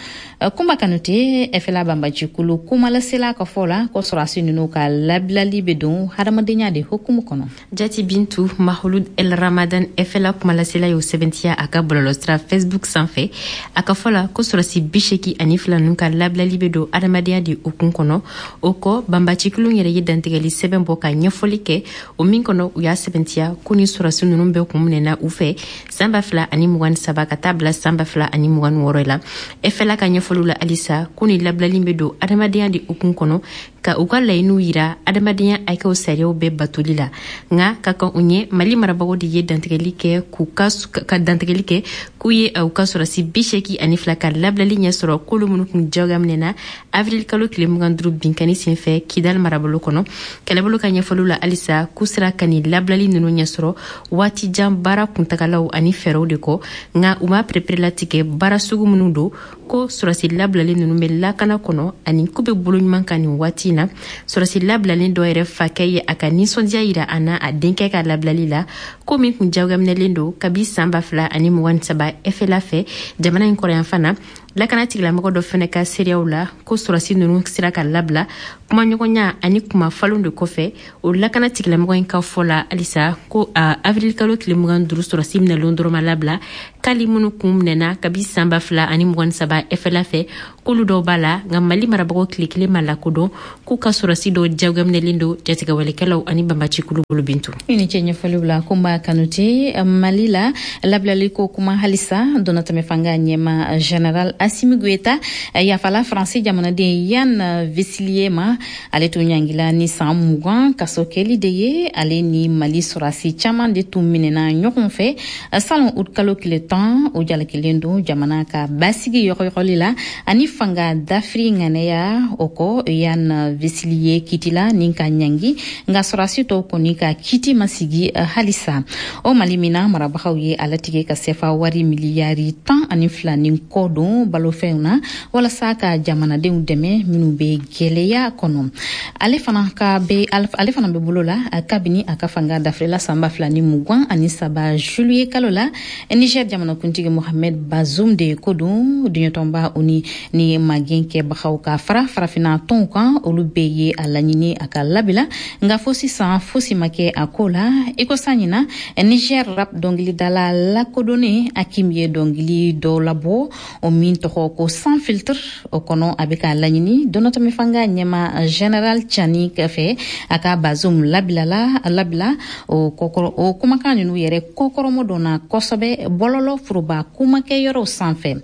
Kunba Kanute, F L A banbacikulu kumalasela ka fɔ la ko sɔrɔdasi ninnu ka labilali bɛ don hadamadenya de hukumu kɔnɔ. Jati Bintu, Maouloud El Ramadan, F L A kumalasela, y'o sɛbɛntiya a ka bɔlɔlɔsira Facebook sanfɛ. A ka fɔ la ko sɔrɔsi bi seki ani fila ninnu ka labilali bɛ don adamadenya de hukumu kɔnɔ. O kɔ, banbacikulu yɛrɛ ye dantigɛli sɛbɛn bɔ ka ɲɛfɔli kɛ, o min kɔnɔ u y'a sɛbɛntiya ko ni sɔrɔsi ninnu bɛɛ kun minɛna u fɛ san ba fila ani mugan ni saba ka taa bila san ba fila ani mugan ni wɔɔrɔ la. F L A ka ɲɛfɔliw la halisa, ko ni labilali bɛ don adamadenya de hukumu kɔnɔ, ka u ka laɲiniw yira adamadenya hakɛw sariyaw bɛɛ batoli la. Nka ka kan u ɲɛ, Mali marabagaw de ye dantigɛli kɛ k'u ka ka dantigɛli kɛ k'u ye u ka sɔrɔsi bi seeki ani fila ka labilali ɲɛ sɔrɔ, k'olu minnu kun jagoya minɛna avril kalo tile mugan duuru binkani senfɛ Kidal marabolo kɔnɔ. Kɛlɛbolo ka ɲɛfɔliw la halisa, k'u sera ka nin labilali ninnu ɲɛ sɔrɔ waati jan baara kuntagalaw ani fɛɛrɛw de kɔ. Nka u ma pereperelatigɛ baara sugu minnu don, ko sɔrɔsi labilalen ninnu bɛ lakana kɔnɔ ani k'u bɛ bolo ɲuman kan nin waati na. Sɔrɔsi labilalen dɔ yɛrɛ fakɛ ye a ka nisɔndiya yira a na a denkɛ ka labilali la, ko min kun jagoyaminɛlen don kabi san ba fila ani mugan ni saba F L A fɛ jamana in kɔrɔyanfan na. Lakana tigilamɔgɔ dɔ fɛnɛ ka seereyaw la, ko sɔrɔsi ninnu sera ka labila kumaɲɔgɔnya ani kuma falon de kɔfɛ. O lakana tigilamɔgɔ in ka fɔ la halisa ko a avril kalo tile mugan duuru sɔrɔsi minɛlen dɔrɔn ma labila, k'ali minnu kun minɛna kabi san ba fila ani mugan ni saba F L A fɛ, k'olu dɔw b'a la. Nka Mali marabagaw tile kelen ma lakodɔn k'u ka sɔrɔsi dɔw jagoyaminɛlen don jatigɛwalekɛlaw ani banbacikulu bolo. Bintu. I ni ce ɲɛfɔliw la, Kunba Kanute. Mali la, labilali ko kuma halisa, donnatɛmɛ fanga ɲɛma général Assimi Goïta yafala Faransi jamanaden Yann Vezilier ma. Ale tun ɲangila ni san mugan kaso kɛli de ye. Ale ni Mali sɔrɔsi caman de tun minɛna ɲɔgɔn fɛ salon ut kalo tile tan. O jalakilen don jamana ka basigi yɔgɔyɔgɔli la ani fanga dafiri ŋanɛya. O kɔ, Yann Vezilier kitila ni ka ɲangi, nka sɔrɔsi tɔw kɔni ka kiti ma sigi halisa. O Mali min na, marabagaw ye a latigɛ ka sefa wari miliyari tan ani fila ni kɔ don balofɛnw na walasa ka jamanadenw dɛmɛ minnu bɛ gwɛlɛya kɔnɔ. Ale fana ka bɛ ale fana bɛ bolo la kabini a ka fanga dafirila san ba fila ni mugan ani saba juillet kalo la. Niger jamanakuntigi Mohamed Bazoum de ko don. Duɲɛtɔnba o ni ni magɛn kɛbagaw ka fara farafinna tɔnw kan, olu bɛɛ ye a laɲini a ka labila, nka fo sisan fosi ma kɛ a ko la. I ko san ɲina, Niger rap dɔnkilidala lakodɔnnen Hakim ye dɔnkili dɔ labɔ, o min tɔgɔ ko Sans filtre. O kɔnɔ, a bɛ k'a laɲini donnatɛmɛ fanga ɲɛma général Tiani fɛ a ka Bazoum labilala labila. O kɔkɔrɔ, o kumakan ninnu yɛrɛ kɔkɔrɔmɔ donna kosɛbɛ bɔlɔlɔ foroba kumakɛyɔrɔw sanfɛ.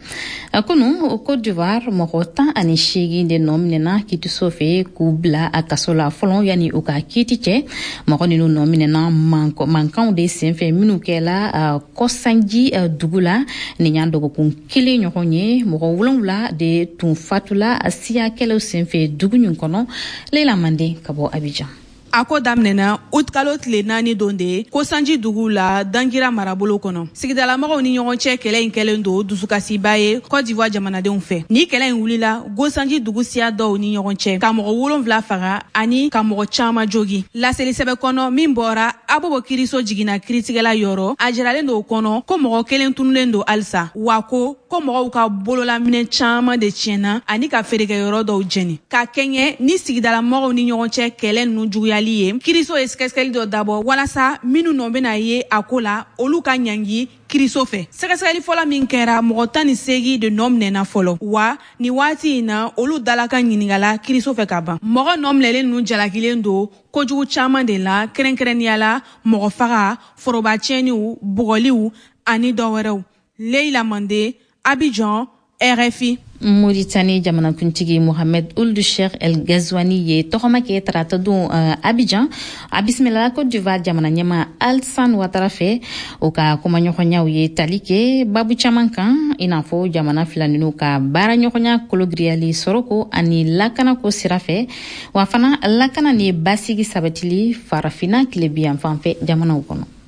Kunu, Côte d'Ivoire, mɔgɔ tan ani seegin de nɔ minɛna kiitiso fɛ k'u bila a kaso la fɔlɔ yanni u ka kiiti cɛ. Mɔgɔ ninnu nɔ minɛna mankanw de senfɛ minnu kɛla Kɔsanji dugu la nin y'an dɔgɔkun kelen ɲɔgɔn ye. Mɔgɔ wolonwula de tun fatula siya kɛlɛw senfɛ dugu nin kɔnɔ. Leila Mande ka bɔ Abidjan. A ko daminɛna utikalo tile naani don de ko Sanji dugu la, Dangira marabolo kɔnɔ. Sigidalamɔgɔw ni ɲɔgɔn cɛ kɛlɛ in kɛlen don dusukasiba ye Côte d'Ivoire jamanadenw fɛ. Ni kɛlɛ in wulila Gosanji dugu siya dɔw ni ɲɔgɔn cɛ, ka mɔgɔ wolonfila faga ani ka mɔgɔ caman jogi. Laseli sɛbɛ kɔnɔ min bɔra Abobo kiriso jiginna kiritigɛla yɔrɔ, a jiralen don o kɔnɔ ko mɔgɔ kelen tunulen don halisa, wa ko ko mɔgɔw ka bololaminɛ caman de tiɲɛna ani ka feerekɛyɔrɔ dɔw jɛni. Ka kɛɲɛ ni sigidalamɔgɔw ni ɲɔgɔn cɛ kɛlɛ ninnu juguyali ye, kiriso ye sɛgɛsɛgɛli dɔ dabɔ walasa minnu nɔ bɛna ye a ko la, olu ka ɲangi kiriso fɛ. Sɛgɛsɛgɛli fɔlɔ min kɛra, mɔgɔ tan ni seegin de nɔ minɛna fɔlɔ, wa ni waati in na, olu dalakan ɲiningala kiriso fɛ ka ban. Mɔgɔ nɔ minɛlen ninnu jalakilen don kojugu caman de la, kɛrɛnkɛrɛnnenya la mɔgɔ faga, foroba tiɲɛniw, bugɔliw ani dɔ wɛrɛw. Leila Mande, Abidjan, R F I. Mauritanie jamanakuntigi Mohamed Ould Cheikh El Ghazouani ye tɔgɔma kɛ tarata don uh, Abidjan. A bisimilala Côte d'Ivoire jamana ɲɛma Alassane Ouattara fɛ. O ka kumaɲɔgɔnyaw ye tali kɛ babu caman kan, i n'a fɔ jamana fila ninu ka baaraɲɔgɔnya kologiriyali sɔrɔko ani lakanako sira fɛ, wa fana lakana ni basigi sabatili Farafina tilebiyanfan fɛ jamanaw kɔnɔ.